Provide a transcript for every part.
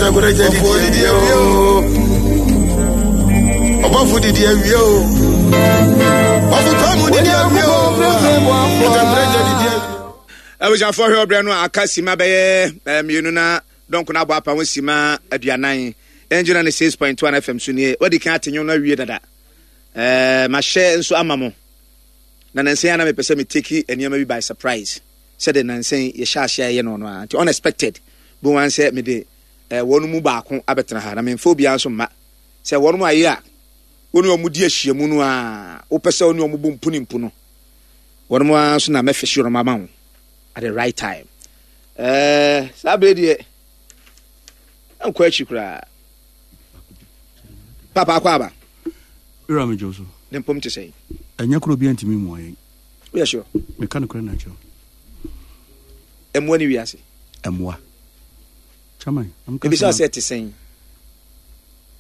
Kɛtɛkorɛgya didi awie o. Ɔbɔfo didi awie o. Ɔfo pa mu didi awie o. Kɛtɛkorɛgya didi awie. Abusuafoɔ hwɛ ɔbrɛ no a aka sima bɛyɛ eh, mmienu na dɔnko no abɔ apa ho sima aduanan. Ɛngyina ne 6.1 FM so nie. Wadi kan ate nwom no awie dada. Eh, mahyɛ nso ama mo. Na nansa yi a na mepɛ sɛ me take nneɛma bi by surprise. Sɛde nansa yi yɛhyɛ aseɛ a yɛyɛ no no a. Nti unexpected. Bohu ara sɛ mede eh, wɔn mu baako abɛtena ha. Na memfa obiara nso mma. Sɛ wɔn ayɛ a, wo ne wɔn di ahyiamu no a, wopɛ sɛ wo ne wɔn bɔ mpu ne mpu no. Wɔn ara nso na mɛfehye wɔn ama wo at the right time. Eh, saa bere deɛ, nkɔ akyi koraa. Papa akɔ aba. Wura me gye so. Ne mpom te sɛn? Ɛnyɛ koro obiara ntumi mmoa yɛn. Woyɛ sure? Meka nokorɛ na akyerɛ wo. Mmoa ne wiase. Mmoa. Chairman, Ebisa sɛ te sɛn?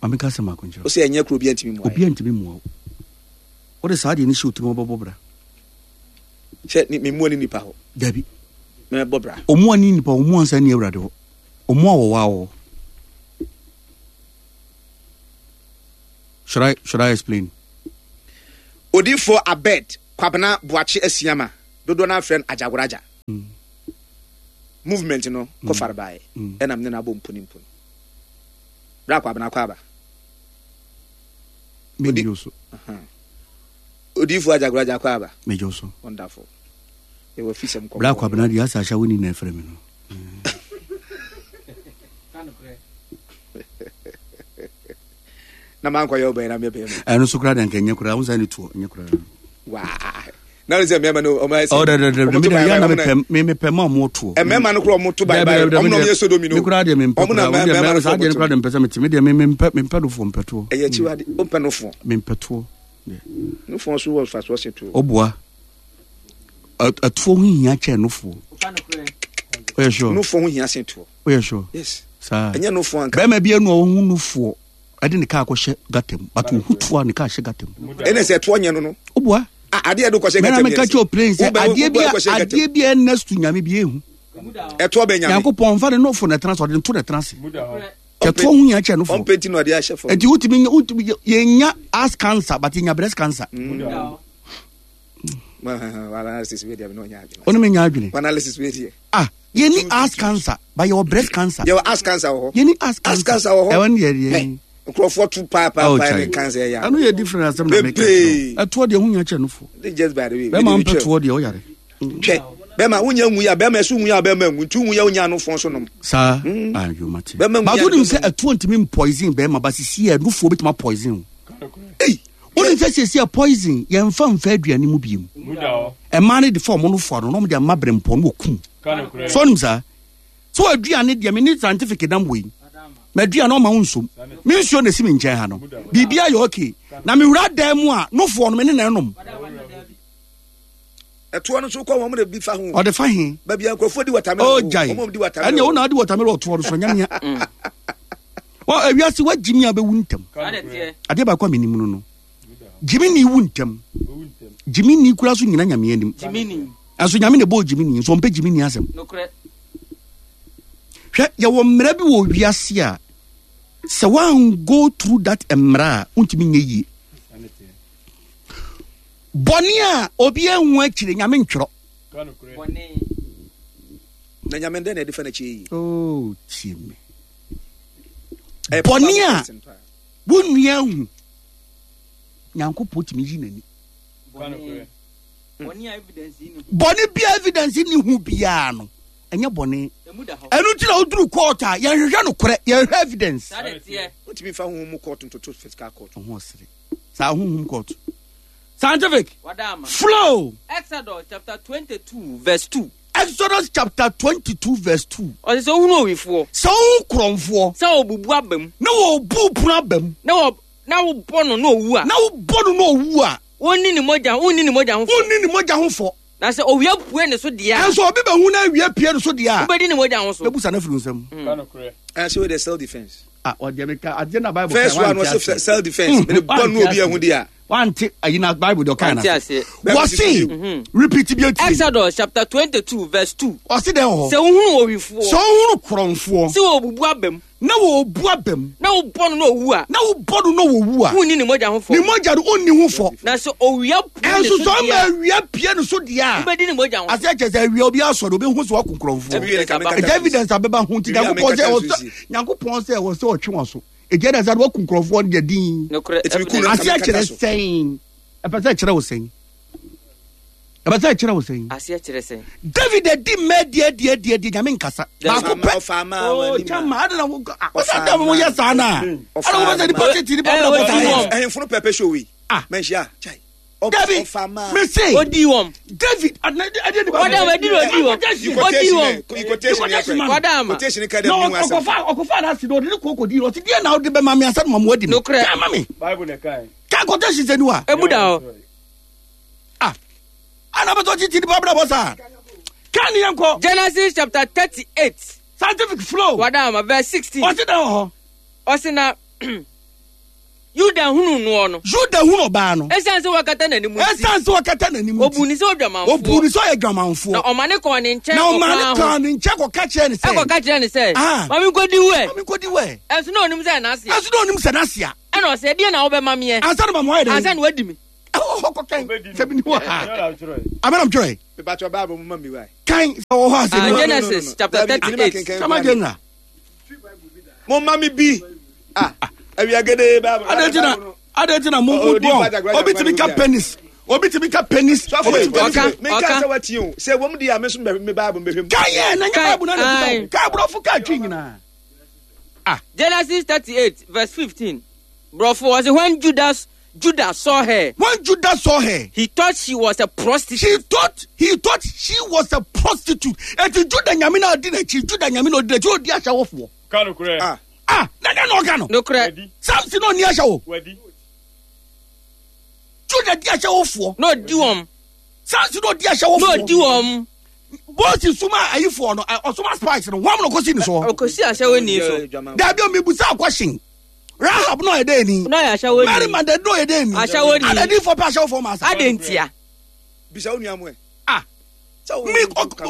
Maame ka sɛ mako nkyerɛ. Wo sɛ ɛnyɛ koro obiara ntumi mmoa yɛn. Obiara ntumi mmoa wo. Wode saa deɛ no hyɛ otirim ɔbɛbɔ bra. Sɛ ne mmoa ne nipa hɔ. Dabi. Mɛbɔ bra. Ɔmmoa ne nipa hɔ, ɔmmoa nsa ni awurade hɔ. Ɔmmoa wɔ waa wɔ. Should I should I explain? Odiyifoɔ Abed Kwabena Boakye Asiama, dodoɔ no ara frɛ no Agyagoraagya. Movement no kɔfare baeɛ ɛna mene no abɔ mpu ne mpu no. Bra Kwabena kɔ aba. Odi so. Odiyifoɔ Agyagoraagya kɔ aba. Mejo so. Wonderful. Yɛwɔ fisɛm kɔkɔɔ. Bra Kwabena deɛ asɛ ahyɛ wo ni na ɛfrɛ me no. Na mankɔyɛ wo bɛyɛ na meyɛ bɛyɛ no. Ɛno so koraa deɛ nka ɛnyɛ koraa, wo nsa ne toɔ, ɛnyɛ koraa. Waa. Na ne sɛ mmarima no ɔmo ayɛ sɛ. Ɔ dɛ dɛ dɛ mi dɛ yɛ na mepɛ mi mepɛ ma ɔmo toɔ. Mmarima no koraa ɔmo to bye bye ɔmo na ɔmo yɛ sodomi no. Mi koraa deɛ mi mpɛ koraa ɔmo deɛ mmarima saa deɛ no koraa deɛ mpɛ sɛ mi te mi deɛ mi mi mpɛ mi mpɛ nofoɔ mpɛ toɔ. Ɛyɛ akyiwade o mpɛ nofoɔ. Mi mpɛ toɔ. Nofoɔ so wɔ nfasoɔ se toɔ. Ɔboa. Ɛtoɔ ho hia kyɛn nofoɔ. Ɔyɛ sure. Nofoɔ ho hia sen toɔ. Ɔyɛ sure. Yes. Saa. Ɛnyɛ nofoɔ anka. Bɛrima bi anu a ɔho nofoɔ ɛde ne kaa kɔhyɛ gata mu but ohu toɔ a ne kaa hyɛ gata mu. Ɛna sɛ toɔ nyɛ no no. Ɔboa. Adeɛ de kɔhyɛ gata mu. Mɛna meka kyerɛ plane sɛ adeɛ bi adeɛ bi a ɛnɛ to nyame bi ehu. Ɛtoɔ bɛ nyame. Nyankopɔn nfa ne nofo na ɛtena se ɔde nto na ɛtena se. Ɛtoɔ ho hia kyɛ nofo. Ɔmpɛ ti na ɔde ahyɛ fam. Eti wotumi wotumi yɛnya ass cancer but yɛnya breast cancer. Mm. Ɔne me nya adwene. Analysis wei deɛ. Ah, yɛni ass cancer, but yɛwɔ breast cancer. Yɛwɔ ass cancer wɔ hɔ. Yɛni ass cancer. Ass cancer wɔ hɔ. Ɛwɔ ne yɛ deɛ. Nkurɔfoɔ tu paa paa paa ne cancer yɛ. Ɛno yɛ different asɛm na meka kyerɛ. Ɛtoɔ deɛ ho nya kyɛ no fo. Just by the way. Bɛma mpɛ toɔ deɛ ɔyare. Twɛ bɛma wonya nwu ya bɛma ɛso nwu ya bɛma nwu nti nwu ya wonya ano fɔn so nom. Saa ayo mate. Bɛma nwu ya. Bato nim sɛ ɛtoɔ ntumi poison bɛma ba sisi yɛ nufoɔ bɛtumi poison. Ei. Wonim sɛ seesei a poison yɛmfa mfa aduane mu biom. Ɛmaa no de fa ɔmo no fo ano na ɔmo de ama berempɔn no wɔkum. So wonim saa? So aduane deɛ me ne scientific nam wei. M'aduane ɔma wo nsom. Me nsuo na esi me nkyɛn ha no. Biribi ayɛ okay. Na me wura dan mu a nofoɔ no me ne na ɛnom. Ɛtoɔ no nso kɔ wɔn de bi fa ho. Ɔde fa he? Baabi a nkurɔfoɔ di watermelon. Oh, gyae. Wɔn di watermelon. Ɛnna wɔn na adi watermelon ɔtoɔ no so nyamia. Wɔ ewiase wa gyimi a bɛwu ntɛm. Adeɛ baako a menim no no. Gyimi ni wu ntɛm. Gyimi ni kura so nyina nyame anim. Ɛnso nyame na ɛbɔɔ gyimi ni nso ɔmpɛ gyimi ni asɛm. Hwɛ yɛwɔ mmara bi wɔ wiase a sɛ wan go through that mmara a wontumi nyɛ yie. Bɔne a obi ahu akyire nyame ntwerɛ. Na nyame dɛn na ɛde fa n'akyi yie. Oh, tie me. Bɔne a wo nua ahu, Nyankopɔn tumi yi n'ani. Bɔne bi a evidence ni ho biara no, ɛnyɛ bɔne. Ɛno nti na woduru court a yɛnhwehwɛ nokorɛ, yɛhwehwɛ evidence. Wotumi fa honhom mu court ntoto physical court. Ho ɔsere. Saa honhom court. Scientific. Flow. Exodus chapter 22 verse 2. Exodus chapter 22 verse 2. Ɔsɛ sɛ wohunu owifoɔ. Sɛ wohu korɔmfoɔ. Sɛ ɔbubu aba mu. Na wɔbu pono aba mu. Na wɔ na wobɔ no na owu a. Na wobɔ no na owu a. Wonni ne mogya wonni ne mogya ho fɔ. Wonni ne mogya ho fɔ. Na sɛ owia pue ne so deɛ a. Nso obi bɛhu na awia pue ne so deɛ a. Wobɛdi ne mogya ho so. Bɛbu sa no afiri nsam. Ɛsɛ wei de self defence. Ah, ɔdeɛ meka adeɛ na Bible First one was self defence. Mede bɔ no obi ahu deɛ a. Wante ayi na Bible deɛ ɔkae Wante na aseɛ. Wɔse repeat bi etie. Exodus chapter 22 verse 2. Ɔse dɛn wɔ hɔ? Sɛ wohunu owifoɔ. Sɛ wohunu korɔmfoɔ. Sɛ wɔbubu aba mu. Na wɔbu aba mu. Na wobɔ no na owu a. Na wobɔ no na owu a. Wonni ne mogya ho fɔ. Ne mogya no wonni ho fɔ. Na sɛ owia pue ne so Ɛnso sɛ ɔma deɛ a. awia pue ne so deɛ a. Wobɛdi ne mogya ho fɔ. Aseɛ kyerɛ sɛ awia obi asɔre obi hu sɛ waku korɔmfoɔ. Ɛgya evidence abɛba ho nti Nyankopɔn sɛ ɛwɔ sɛ Nyankopɔn sɛ ɛwɔ sɛ ɔtwe wɔn so. Ɛgya evidence ade waku nkurɔfoɔ no deɛ din. Nokorɛ evidence. Aseɛ kyerɛ sɛn? Ɛpɛ sɛ ɛkyerɛ wo sɛn? Ɛpɛ sɛ ɛkyerɛ wo sɛn? Aseɛ kyerɛ sɛn? David adi mmɛ adi adi adi adi nyame nkasa. Baako pɛ. Oh, chama, adi na wo ɔsɛ adi mo yɛ saa na. Adi wo bɛ sɛ nipa tete nipa bɛ bɔ saa. Ɛhɛnfo no pɛpɛ show yi. Ah. Mɛnhyia. Chai. David, mese. Odi wɔm. David, adi nipa. Wɔda ma di odi wɔm. Odi wɔm. Wɔda ma. Quotation ka dɛ Na mi asɛm. ɔkɔfa ɔkɔfa n'ase na ɔde ne kɔ kɔdi ɔsi deɛ na ɔde bɛma mi ansa na mamu adi mi. Nokorɛ. Kaa ma mi. Bible na ɛkae. Kaa quotation sɛ ni wa. Emu da hɔ. Ah, ana bɛtɔ titi nipa bɛrɛ bɔ saa. Kaa ni yɛn kɔ. Genesis chapter 38. Scientific flow. Wɔda ma verse 16. Ɔsi dɛ wɔ hɔ. Ɔsi na Yuda hunu noɔ no. Yuda hunu ɔbaa no. Esiane sɛ wakata n'anim nti. Esiane sɛ wakata n'anim nti. Obu ne sɛ odwamanfoɔ. Obu ne sɛ ɔyɛ dwamanfoɔ. Na ɔma ne kɔɔ ne nkyɛn Na ɔma ne ɔkwan ho. kɔɔ ne nkyɛn kɔka kyerɛ ne sɛ. Ɛkɔka kyerɛ ne sɛ. Ah. Ma me nkɔdi wo ɛ. Ma me nkɔdi wo ɛ. Ɛnso na onim sɛ n'asea. Ɛnso na onim sɛ n'asea. Ɛna ɔsɛ ɛdeɛ na wobɛma meɛ. Ansa na ma mo ayɛ dɛ. Ansa na wadi me. Ɛwɔ hɔ kɔkɛn sɛ bi ni wɔ ha. Amena twerɛ. Mebatɔ Bible mu ma mi wa. Kan sɛ wɔ hɔ ase. Ah, Genesis chapter 38. Sama general. Mo ma mi bi. Ah, awia gede Bible. Adɛn nti na mo mo bɔ obi tumi ka penis obi tumi ka penis obi tumi ka Ɔka, Mi ka ɔka. sɛ wati o. Sɛ wɔn di a mi nso mi Bible mbɛhwɛ mu. Kan yɛ na nyɛ Bible na na Aye. kuta kan aborɔfo ka twi nyinaa. Genesis 38 verse 15. Brɔfo ɔsɛ when Judas Judah saw her. When Judah saw her. He thought she was a prostitute. She thought he thought she was a prostitute. Eti Judah nyame na odi n'akyi Judah nyame na odi n'akyi odi ahyɛwofoɔ. Ka nokorɛ. Ah. Ah, na dɛn na ɔka no? Nokorɛ. Samson na ɔni ahyɛwo. Wadi. Judah di ahyɛwofoɔ. Na ɔdi wɔn. Samson na ɔdi ahyɛwofoɔ. Na ɔdi wɔn. Moses suma ayifoɔ no ɔsoma spies no wɔn na ɔkɔsi ne soɔ. Ɔkɔsi ahyɛwoni so. Dabi omi busa question. Rahab na ɔyɛ dɛ ni. Na ɔyɛ ahyɛwoni. Mary Magdalene na ɔyɛ dɛ ni. Ahyɛwoni. Adadifoɔ pɛ ahyɛwofoɔ ma asa. Adɛn ntia? Bisa wo nua mu ɛ. Ah. Mi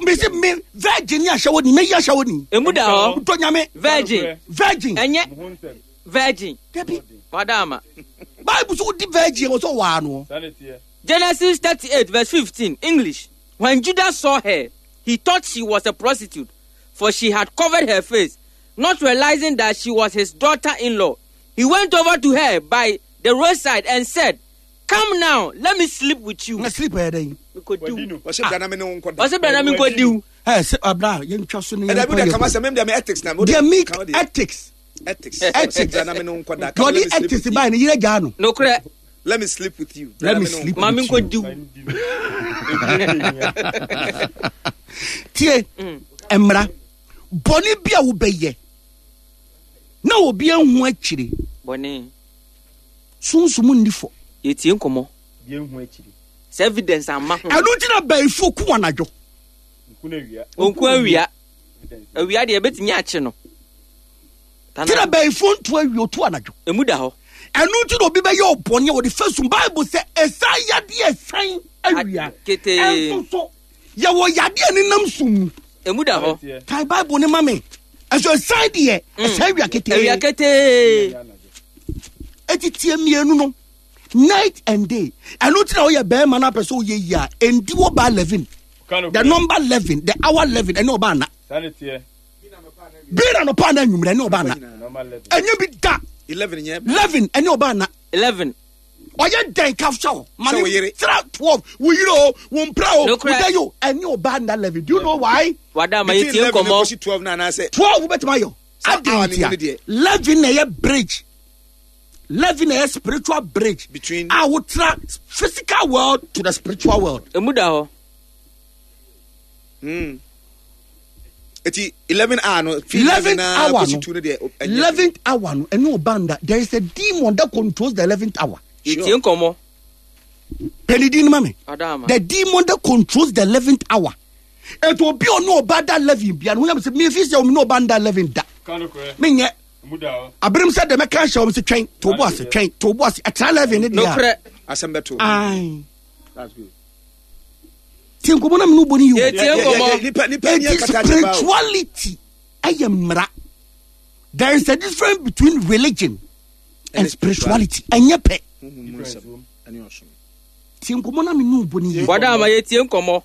mi si mi virgin ni ahyɛwoni mi yi ahyɛwoni. Emu da hɔ. Ntɔ nyame. Virgin. Virgin. Ɛnyɛ virgin. Dabi. Wada ama. Bible so wodi virgin wɔ sɛ ɔwaa no. Genesis 38 verse 15 English. When Judah saw her, he thought she was a prostitute, for she had covered her face, not realizing that she was his daughter-in-law. He went over to her by the roadside and said, Come now, let me sleep with you. Na sleep ɛyɛ dɛn? Mekɔdi wo. Ɔsɛ bra na me ne wo nkɔda. Ɔsɛ bra na me nkɔdi wo. Ɛ sɛ abra yɛntwa so ne Ɛdabi yɛnkɔ deɛ kama yɛ sɛ mem deɛ me ethics na. Deɛ me Kama deɛ. ethics. Ethics. Ethics. Ɔsɛ bra na me ne wo nkɔda. Deɛ Come, ɔde let me sleep ethics with you. bae no yerɛ gyaa no. Nokorɛ. Let me sleep with you. Let me sleep Ma me with you. nkɔdi wo. Tie mmara bɔne bi a wobɛyɛ na obi ahu akyire. Bɔne. Sunsum nni fɔ. Yɛtie nkɔmmɔ. Sɛ evidence amma ho. Ɛno nti na bayifoɔ ku anadwo. Ɔnku awia. Awia deɛ ɛbɛtumi akye no. Nti na bayifoɔ ntu awia ɔtu anadwo. Emu da hɔ. Ɛno nti na obi bɛyɛ ɔbɔne a wɔde fa sum. Bible sɛ ɛsan yadeɛ ɛsan awia. Ketee. Ɛnso so yɛwɔ yadeɛ ne nam sum mu. Emu da hɔ. Kae Bible ne ma me. Ɛso ɛsan deɛ ɛsan awia ketee. Awia ketee. Eti tie mmienu no night and day. Ɛno nti na woyɛ bɛrima no apɛ sɛ woyɛ yie a ɛndi wɔ ba 11. The number 11, the hour 11 ɛne ɔba ana. Bere anɔpa ana anwummerɛ ɛne ɔba ana. Ɛnyɛ bi da. 11 nyɛ. 11 ɛne ɔba ana. 11. Ɔyɛ dɛn ka hyɛ hɔ. Ma Sɛ ne wo yere. tra 12 wo yere o wo mpra o wo Nokorɛ. dɛ yo ɛne ɔba ana 11. Do you know why? Wada ama Between yɛtie 11 nkɔmmɔ. kɔsi 12 na anaasɛ. 12 wobɛtumi ayɔ. Saa Adɛn hour no mu ntia? no deɛ. 11 na ɛyɛ bridge. 11 na ɛyɛ spiritual bridge. Between- a wotra physical world to the spiritual world. Emu da hɔ. Eti 11 hour no. Fi 11 na hour kɔsi no. 2 no deɛ. ɛnyɛ. 11th hour no ɛne ɔba nda. There is a demon that controls the 11th hour. Yɛtie nkɔmmɔ. Pɛnidin no ma me. Wada ama. The demon that controls the 11th hour. Eto obi ɔne ɔba da 11 bia no ho yam sɛ mefi sɛ ɔme ne ɔba nda 11 da. Menyɛ. Aberem sɛ deɛ mɛka ahyɛ wɔm sɛ twɛn to bo ase twɛn to bo ase ɛtra 11 ne deɛ a. Nokorɛ. Asɛm bɛto. Ae. That's good. Tie nkɔmmɔ na mene wobɔ no yie. Tie nkɔmmɔ. Nipa nipa ni It is akata kyɛ ba o. spirituality ɛyɛ mmara. There is a difference between religion and spirituality. Ɛnyɛ pɛ. Honhom mu nsɛm ɛne ɔsom. Tie nkɔmmɔ na mene wobɔ no yie. Wada ama yɛtie nkɔmmɔ.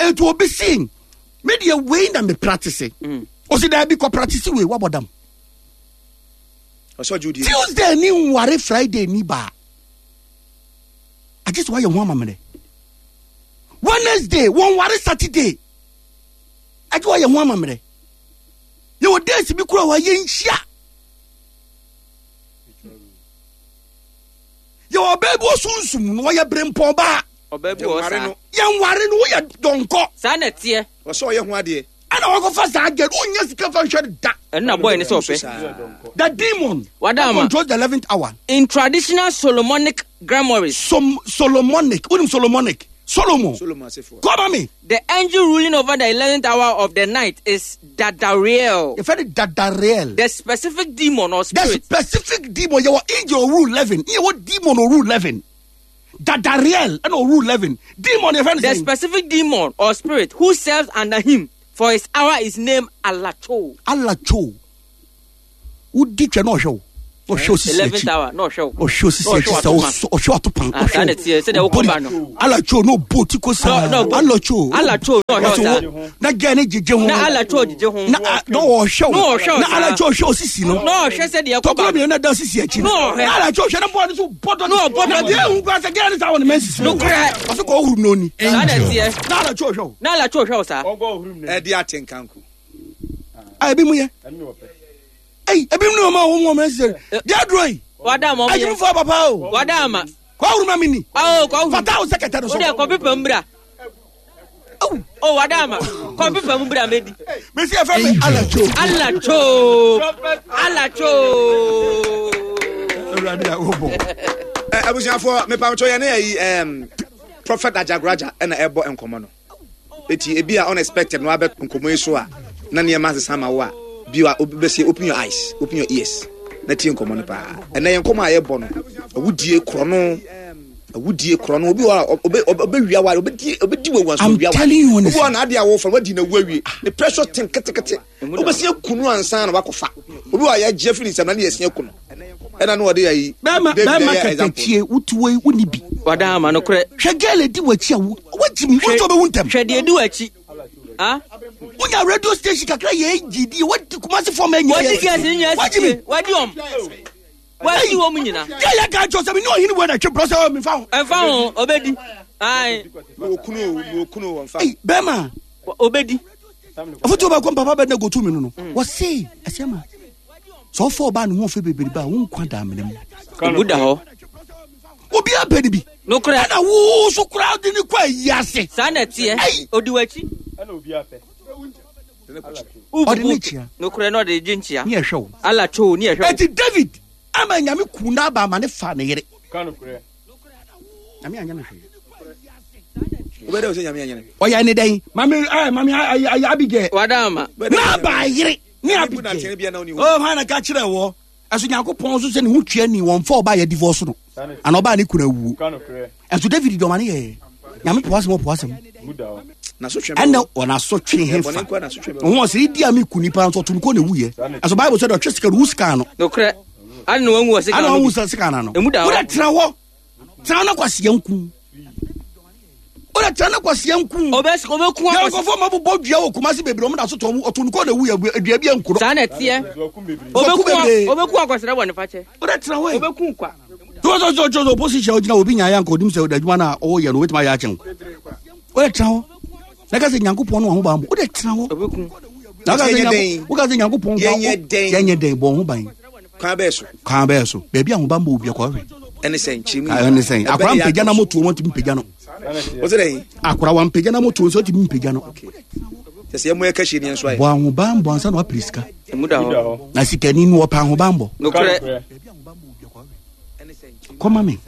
Etu obi si me deɛ wei na me practice. Ɔsi daabi kɔ practice wei wabɔ dam. Ɔsɛ ɔgye odie. Tuesday ni nware Friday ni baa. Agye sɛ wayɛ ho amammerɛ. Wednesday wɔnware Saturday. Agye wayɛ ho amammerɛ. Yɛwɔ days bi kura hɔ a yɛnhyia. Yɛwɔ ɔbaa bi wɔ sunsum no ɔyɛ berempɔn baa. Ɔbaa bi wɔ saa. Yɛnware no woyɛ dɔnkɔ. Saa na ɛteɛ. Ɔsɛ ɔyɛ ho adeɛ. Ɛna wakɔfa saa girl wonnya sika fa nhwɛ no da. Ɛno na boy no sɛ ɔpɛ. The demon Wada that ama. controls the eleventh hour. In traditional Solomonic grimoires. Som, Solomonic. Wonim Solomonic? Solomon. Solomon asefoɔ. Kɔma me. The angel ruling over the eleventh hour of the night is Dadariel. Yɛfrɛ no Dadariel. The specific demon or The spirit. specific demon yɛwɔ angel ɔrule 11 ne yɛwɔ demon ɔrule 11. Dadariel ɛna ɔrule 11. Demon yɛfrɛ no The sɛn? specific demon or spirit who serves under him for his hour is named Alacho. Alacho. Wodi twɛ na ɔhwɛ wo. Ɔhwɛ osisi Eleventh akyi. hour na ɔhwɛ wo. Ɔhwɛ osisi Na ɔhwɛ akyi sɛ w'atopa. ɔsɔ- ɔhwɛ w'atopa. Ah, saa na ɛteɛ, sɛdeɛ wokɔ ba no. Alacho na ɔbɔ ti ko saa. Na- na ɔbɔ- Alacho. Alacho na ɔhwɛ wo Ɔsɛ saa. wo- Na gɛɛ ne gyegye ho. Na Alacho gyegye ho. Na a- na ɔhwɛ wo. Na ɔhwɛ wo Na saa. Alacho ɔhwɛ osisi no. Na ɔhwɛ sɛdeɛ ɛkɔ Tɔkuro ba no. mmienu na ɛda osisi akyi no. Na ɔhwɛ. Na Alacho ɔhwɛ na bɔɔ ne so bɔ dɔ. Na ɔbɔ Na dɔ. deɛ ehu koraa sɛ gɛɛ ne saa wɔ ne mɛnsisi no. Nokorɛ. Ɔsɛ kɔ ɔhuru n'oni. Saa na ɛteɛ. Na Alacho ɔhwɛ wo. Na Alacho ɔhwɛ wo saa. Ɛde ate nkanko. A ebi mu yɛ. Ɛyi ebi mu ni wɔn a wɔn mu wɔn mɛnsisi. Deɛ aduro yi. Wada ama ɔmo yɛ. Adwumfoɔ papa o. Wada ama. Kɔ ɔhuru ma mi ni. Awo kɔ ɔhuru. Fata wo sɛ kɛtɛ no so. O deɛ kɔ pepa mu bra. O wada ama. Kɔ pepa mu bra medi. Mesi ɛfɛ mi Alacho. Alacho. Alacho. Awurade a wobɔ. Ɛ abusuafoɔ mepamkyɛw yɛne ayi ɛɛm Prophet Ajagraja ɛna ɛbɔ nkɔmɔ no. Eti ebi a unexpected no abɛ nkɔmɔ yi so a na nneɛma asesa ama wo a bi a obi bɛsi open your eyes open your ears na tie nkɔmɔ no paa. Ɛnɛ yɛn nkɔmɔ a yɛbɔ no awudie korɔno awudie korɔno obi wɔ a obe obe wia wa obedi obedi wɔ wanso I'm wia wa telling you obi honestly. wɔ a n'ade a wɔfa wadi na wu awie ne precious thing ketekete obesi akunu ansa na wakɔfa obi wɔ a yɛgye afiri ne nsam na ne yɛsi akunu ɛna no ɔde ayi Bɛrima David bɛrima ɛyɛ example. kɛtɛkyie wotu wei wonni bi. Wada ama no korɛ. Hwɛ girl edi w'akyi a wo wagyi mi wosɔ bɛwu ntɛm. Hwɛ deɛ di w'akyi. Ah? Wonya radio station kakra yɛ egyi di wadi Kumasi fɔm ɛnyɛ Wadi girls ni nyinaa Wagyi mi. sitie. Wadi wɔn. Wadi wɔn nyinaa. Girl yɛ ka kyerɛ sɛ mi ni ɔhene wei na twe brɔ sɛ ɔ mi fa ho. Ɛnfa ho obedi. Ayi. Okunu o, okunu o, wɔnfa. Ɛyi bɛrima Obedi. afotuo baako papa bɛ na gotu mi no no wɔse ɛsɛ ma sɛ ɔfɔ ɔbaa ne ho ɔfɛ bebrebe a wo nkwa da amena mu. Ebu da hɔ. Obiara pɛ ne bi. Nokorɛ. Ɛna wo so koraa de ne kɔ ayi ase. Saa na ɛteɛ. Ɛyi. Odi w'akyi. Ɔde ne kyia. Nokorɛ na ɔde gye nkyia. Ne ɛhwɛ wo. Alacho ne ɛhwɛ wo. Eti David ama nyame ku n'aba ama ne fa ne yere. Nyame anyɛ no hwee. Wobɛdɛ wo sɛ nyame anyɛ no hwee. Ɔyɛ ne dɛn? Mame ɛɛ mame ayi ayi Abigail. Wada ama. N'aba yere ne Nyame bu Abigail. n'atɛn bia na ɔni hɔ. Oh, hwan na ka kyerɛ wɔ? Ɛso Nyankopɔn nso sɛ ne ho tua ni wɔn fa ɔbaa yɛ divorce no. Ana ɔbaa ne kunu awuo. Ɛso David dɔm ane yɛ. Nyame po asɛm ɔpo asɛm. N'asotwe bɛwɔ. Ɛnna wɔn asotwe he Ɛbɔne fa. nko ara n'asotwe bɛwɔ. Ɔho ɔsɛ idi a mi ku nipa nso ɔto no kɔ na ewuyɛ. Ɛso Bible sɛ dɛ ɔtwe sika no wu sika no. Nokorɛ. Ade na wɔnwu wɔ sika Ana no ɔhu bi. sɛ sika no ano. Emu da hɔ. Wode tena hɔ. Tena hɔ na kwasia nku. Wode tena na kwasia nku. Obɛku Yɛ akɔsi. nkɔfoɔ ma bobɔ dua wɔ Kumasi bebree ɔmo da so tɔn ɔto no kɔ na ewuyɛ dua bi ankuro. Saa na ɛteɛ. Ɔbɛku bebree. Obɛku akɔsrɛ bɔ ne fakyɛ. Wode tena hɔ yi. Obɛku kwa. Sɔsɔsɔsɔ opposition ogyina obi nyaayɛ anka onim sɛ adwuma no a ɔyɛ no obɛtumi ayɛ akyɛn. Wode tena hɔ. Na ka sɛ Nyankopɔn no ahobammɔ. Wode tena hɔ. Obɛku. Na woka sɛ Yɛnyɛ Nyanko- dɛn? woka sɛ Nyankopɔn Yɛnyɛ dɛn? Yɛnyɛ dɛn bɔ ho ban. Kwan bɛɛ so. Kwan bɛyɛ so. Baabi a ahobammɔ obi akɔ hwɛ. Ɛne sɛ nkyerɛ mu. Ɛne sɛn. Akora mpagya na motuo wɔn ntumi mpagya no. Wɔsɛ dɛn? Akora wɔn mpagya na motuo nso ntumi mpagya no. Sɛ sɛ yɛmmɔ yɛka hyɛ ni nso ayɛ. Bɔ ahobammɔ ansa na wapere sika. Emu da hɔ. Na sikani no wɔpɛ ahobammɔ. Nokorɛ. Kɔma me.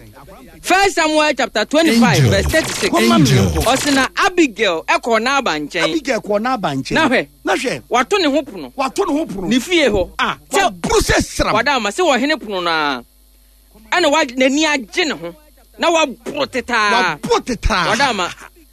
First Samuel chapter 25 Angel. verse 36. Kɔma me Angel. Ɔse na Abigail ɛkɔɔ Nabal nkyɛn. Abigail kɔɔ Nabal nkyɛn. Na hwɛ. Na hwɛ. Wato ne ho pono. Wato ne ho pono. Ne fie hɔ. Ah, Sɛ waboro sɛ sram. wada ama sɛ wɔhene pono no ara. Ɛna wa n'ani agye ne ho na waboro tetaa. Waboro tetaa. Wɔda ama.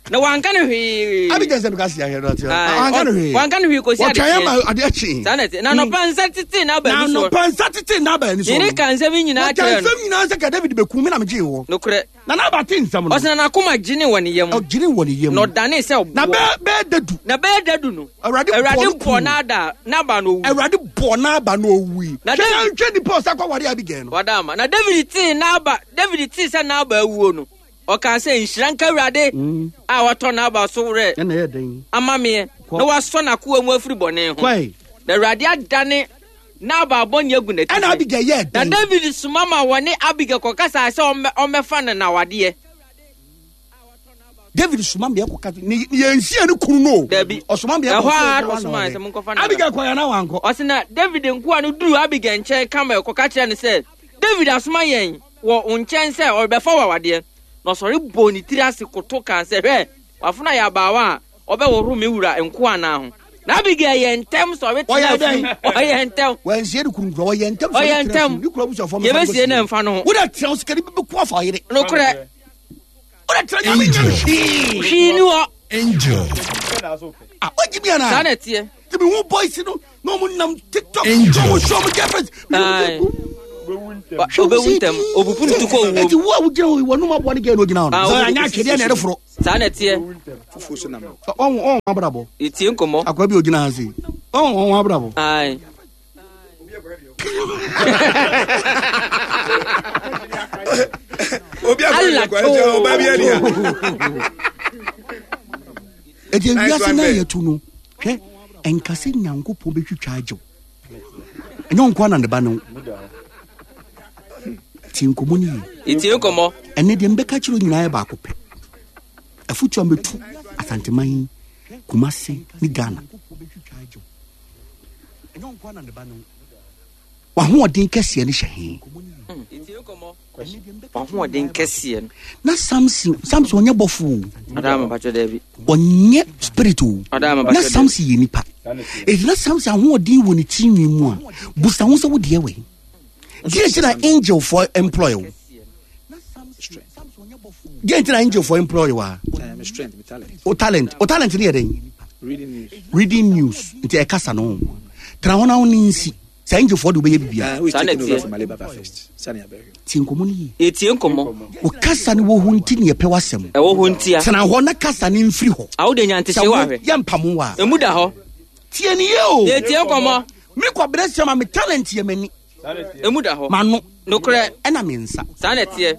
Na wanka ne hwee. Abigail sɛ meka si ahwɛ no ate. Wanka ne hwee. Wanka ne hwee kɔsi ade. Wɔtwɛn ma ade akyi. Saa na ɛte. Na anɔpa nsa tete n'aba ani Na soɔ. anɔpa nsa tete n'aba ani soɔ. Ne ka nsɛm yi nyinaa kyerɛ no. Wɔka nsɛm nyinaa sɛ ka David bɛku me na megyee wɔ. Nokorɛ. Na n'aba te nsɛm no. Ɔsɛ na n'akoma gyene wɔ ne yam. Ɔgyene wɔ ne yam. Na ɔdanee sɛ ɔboɔ. Na bɛɛ bɛɛ dadu. Na bɛɛ dadu no. Awurade Awurade bɔɔ n'ada n'aba na owui. Awurade bɔɔ n'aba na owui. Na Hwɛ David hwɛ nipa ɔsa kɔ ware Abigail no. Wada ama. Na David tee n'aba David tee sɛ n'aba awuo no, ɔkaa sɛ, Nhyira nka Awurade mm. a watɔ n'aba so werɛ ama meɛ na wasɔ n'akoa mu afiri bɔne ho. Na Awurade adane Nabal bɔne agu n'atifi. Ɛna Abigail yɛɛ dɛn? Na David soma ma wɔne Abigail kɔkasaa sɛ ɔmmɛfa no n'awadeɛ. David soma mmea kɔka ne yɛn nsia ne kunu no. Dabi. Ɔsoma mmea kɔ sɛ ɛhɔ ɔsoma sɛ monkɔfa no. Abigail kɔ yɛn na wankɔ. Ɔsɛ na David nkoa no duru Abigail nkyɛn Karmel kɔka kyerɛ no sɛ David asoma yɛn wɔ wo nkyɛn sɛ ɔrebɛfa wo awadeɛ. Na ɔsɔre bɔɔ ne tiri ase koto kaa sɛ, Hwɛ, w'afenaa yɛ abaawa a ɔbɛhohoro me wura nkoa nan ho. Na Abigail yɛ ntɛm sɔre tena afurum. Ɔyɛ ntɛm. Wansie ne kunu nkura. Ɔyɛ ntɛm sɔre Ɔyɛ tena ntɛm. afurum. Ne kura abusuafoɔ mfa no Yɛbɛsie kɔsie. no mfa no ho. Wode tena wo sikani bi bɛku afa ɔyere. Nokorɛ. Wode tena nyame nyɛ no hwee. Hwee ni hɔ. Angel. Ah, wagye mi anaa? Saa na ɛteɛ. Nti mehu boys no na ɔmo nam TikTok. Angel. Na ɔmo show ɔmo girlfriends. Aye. Ɔbɛwu ntɛm. Obubu no tu kɔ owuo. Eti wo a wogyina hɔ yi, wɔnum aboa ne gɛɛ na ogyina hɔ no. Ah, Sɛ wo- anyɛ atwedeɛ na ɛreforo. Saa na ɛteɛ. Fufuo so nam. Ɔn ɔn abrabɔ. Yɛtie nkɔmmɔ. Akwa bi ogyina ha sei. Ɔn ɔn abrabɔ. Aye. Obi akɔ Allah ɛdi kɔ ɛdi ɔba bi ɛdi ha. Eti Nice ewiase one na there. yɛtu no. Hwɛ ɛnka sɛ Nyankopɔn bɛtwitwa agyew. Ɛnyɛ wo nkoa na ne ba ne wo. Tie nkɔmmɔ no yie. Yɛtie nkɔmmɔ. Ɛnɛ deɛ mbɛka kyerɛ wo nyinaa yɛ baako pɛ. Afotu a mɛtu Asanteman, Kumase ne Ghana. W'ahoɔden kɛseɛ no hyɛ he? W'ahoɔden kɛseɛ no. Na Samson, Samson ɔnyɛ bɔfo o. Ɔdaa ma bàtɔ dɛbi. Ɔnyɛ spirit o. Ɔdaa ma bàtɔ dɛbi. Na Samson yɛ nipa. Eti na Samson ahoɔden wɔ ne tirinwi mu a, busa ho sɛ wo deɛ wɛ. Deɛ nti na angel for employ o. Deɛ nti na angel for employ wa. O talent, o talent ne yɛ dɛn? Reading news. Reading news. Nti ɛkasa no. Tena hɔ na wo ne nsi. Saa angelfoɔ de wobɛyɛ biribiara. Uh, who is Saa na taking over ɛteɛ. from Alibaba first? Sani Abɛhwɛ. Tie nkɔmmɔ no yie. Yɛtie nkɔmmɔ. Wo kasa no wɔ hɔ nti ne yɛpɛ w'asɛm. Ɛwɔ hɔ ntia. Tena hɔ na kasa no mfiri hɔ. Awo de nya Sɛ ntehyɛ wɔ wo ahwɛ. yɛmpamo wo a. Emu da hɔ. Tie ne yie o. Yɛtie nkɔmmɔ. Me Kwabena Siam a me talent yɛ m'ani. Emu da hɔ. M'ano. Nokorɛ. Ɛna me nsa. Saa na ɛteɛ.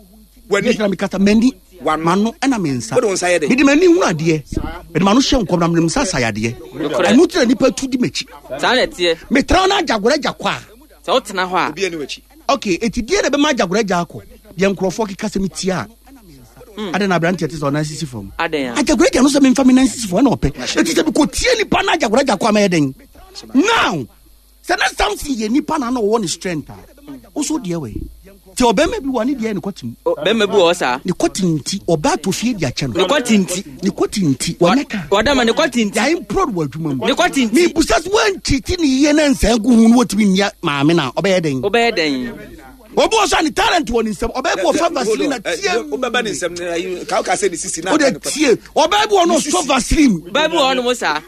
W'ani. Yɛ mekasa m'ani. W'ano. M'ano ɛna me nsa. Wode wo nsa yɛ dɛn? Mede m'ani hunu adeɛ. Mede m'ano hyɛ nkɔm na mede me nsa sa yadeɛ. Nokorɛ. Ɛno nti na nipa tu di m'akyi. Saa na ɛteɛ. Metra na agyagorɔ agya kɔ a. Sɛ wotena hɔ a. Obi ani w'akyi. Okay, eti deɛ na ɛbɛma agyagorɔ agya akɔ? Deɛ nkurɔfoɔ keka sɛ metia a. Adɛn na aberanteɛ te sɛ ɔnan sisi fam? Adɛn a? Agyagorɔ agya no sɛ memfa me nan sisi fam ɛna ɔpɛ. Eti sɛ mekɔtie nipa na agyagorɔ agya kɔ a mɛyɛ dɛn? Now, Sɛ na Samson yɛ nipa na na ɔwɔ ne strength a, wo so deɛ wɛ. Nti ɔbɛrima bi wɔ ne deɛ ne kɔte mu. Bɛrima bi wɔ hɔ saa. Ne kɔte nti ɔbaa tɔ fie de akyɛ no. Ne kɔte nti. Ne kɔte nti wɔnyɛ ka. Wɔda ma ne kɔte nti. Yɛayɛ mprɔd wɔ adwuma mu. Ne kɔte nti. Mebusa sɛ woankyiti ne yie na nsa gu ho no wɔtumi nnia maame no a ɔbɛyɛ dɛn? Wobɛyɛ dɛn? Obi wɔ so a ne talent wɔ ne nsam. Ɔbɛyɛ bi wɔ fa vaseline na tie. Wobɛba ne nsam no ka woka sɛ ne sisi na. Wode tie. Ɔbɛyɛ bi wɔ no ɔsɔ vaseline. Bɛyɛ bi wɔ hɔ nom saa.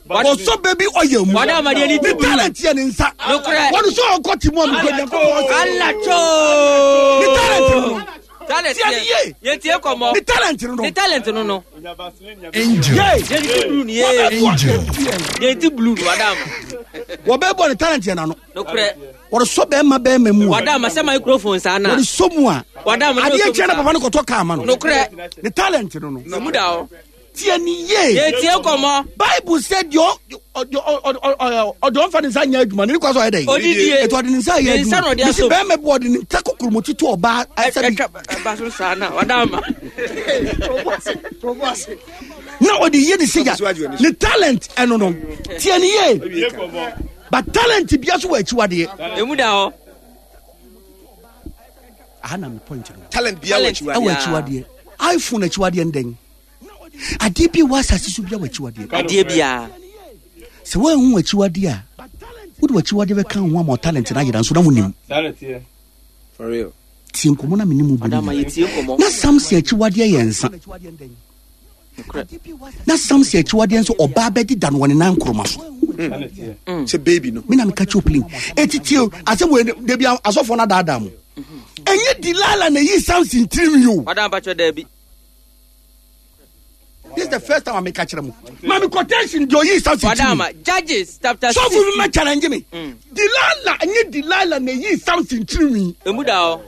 Ɔsɔ baby oil mu. Wɔde amadeɛ ne Ne talent yɛ ne nsa. Nokorɛ. Wɔde sɔ ɔkɔ ti mu a mekɔ Nyankopɔn ɔsɛ. Allah choo. Ne talent no no. Talent Tie ne yie. Yɛtie kɔmmɔ. Ne talent no no. Ne talent no no. Angel. Yay. Yɛde ti blue ni yee. Angel. Yɛde ti blue ni wada ama. Wɔbɛbɔ ne talent yɛ n'ano. Nokorɛ. Wɔde sɔ bɛrima bɛrima mu a. Wada ama sɛ microphone saa na. Wɔde sɔ mu a. Wada ama. Adeɛ kyɛn na papa no kɔtɔ kaa ma no. Nokorɛ. Ne talent no no. Emu da hɔ. Tie ne yie. Yɛtie nkɔmmɔ. Bible sɛ deɛ ɔde ɔmfa ne nsa nyɛ adwuma no ne kwa sɛ ɔyɛ dɛn? Ɔdidie. Ɛti ɔde ne nsa yɛ Ne nsa na adwuma. ɔde Mesi asom. bɛrima bi ɔde ne nsa kokuromoti to ɔbaa ɛsɛ bi. Ɛtwa ɛba so saa na wada ama. Na ɔde yie ne sigya. Ne talent ɛno no. Tie ne yie. But talent bia so wɔ akyiwadeɛ. Emu da hɔ. Aha na me point no. Talent bia wɔ akyiwadeɛ. Ɛwɔ akyiwadeɛ. iPhone akyiwadeɛ ndɛn. Adeɛ bi wɔ asase so bia wɔ akyiwadeɛ. Adeɛ biara. Sɛ woanhu w'akyiwadeɛ a, wode w'akyiwadeɛ bɛka ho ama talent no ayera nso na wonim. For real. Tie nkɔmmɔ na mene mu bɔ na Samson akyiwadeɛ yɛ nsa. Na Samson akyiwadeɛ nso ɔbaa bɛde da no wɔ ne nan nkoroma so. Sɛ baby no. Me na meka kyerɛ plane. Eti tie asɛm wɔ dabi asɔfoɔ no adaadaa mo. Ɛnyɛ Delilah na eyi Samson tirim yi o. Ɔda mpakyɛ dabi. This is the first time I make a kyerɛ mo. Maame quotation deɛ oyi Samson tirim. Ɔda Judges chapter six. Sɔfo bi ma challenge me. Delilah ɛnyɛ Delilah na eyi Samson tirim yi. Emu da hɔ.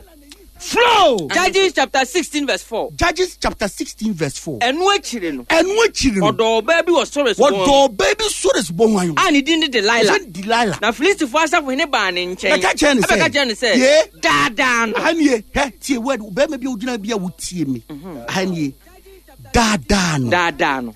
Flow. Judges chapter 16 verse 4. Judges chapter 16 verse 4. Ɛno akyiri no. Ɛno akyiri no. Ɔdɔɔ ɔbaa bi wɔ Sores bɔn. Ɔdɔɔ ɔbaa bi Sores bɔn ayo. A ne din de Delilah. Ɔsɛ Delilah. Na Filistifoɔ asafohene baa ne nkyɛn. Bɛka kyerɛ ne sɛ. Ɛbɛka kyerɛ ne sɛ. Ye. Daadaa no. Aha nie. Hɛ tie word bɛrima bi a ogyina bi a wotie mi. Aha nie. Daadaa no. Daadaa no.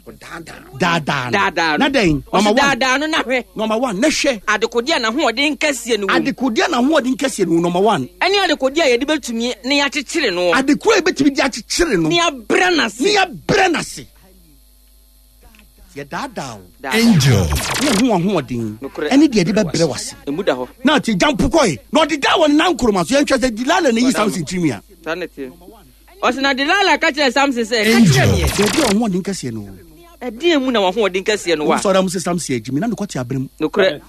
Daadaa no. Daadaa no. Na dɛn? Number one. Daadaa no na hwɛ. Number one na hwɛ. Adekodeɛ a n'ahoɔden kɛseɛ no wɔ mu. Adekodeɛ a n'ahoɔden kɛseɛ no wɔ number one. Ɛne adekodeɛ a yɛde bɛtumi ne yɛakyekyere no. Adekodeɛ a yɛbɛtumi de akyekyere no. Ne yɛabrɛ n'ase. Ne yɛabrɛ n'ase. Yɛdaadaa wo. Angel. Ne ho ahoɔden. Ɛne deɛ yɛde bɛbrɛ w'ase. Emu da hɔ. Na ate gyampo kɔe. Na ɔde daa wɔ ne nan nkoroma so. Yɛnhwɛ sɛ Delilah na eyi Samson tirinwi a. Saa na ɛteɛ. Ɔse na Delilah ka kyerɛɛ Samson sɛ, Ka kyerɛ meɛ. Baabi a w'ahoɔden kɛseɛ no wɔ. Ɛdeɛn mu na w'ahoɔden kɛseɛ no wɔ a? Wosɔre a mo sɛ Samson agyi me na mekɔte abere mu. Nokorɛ.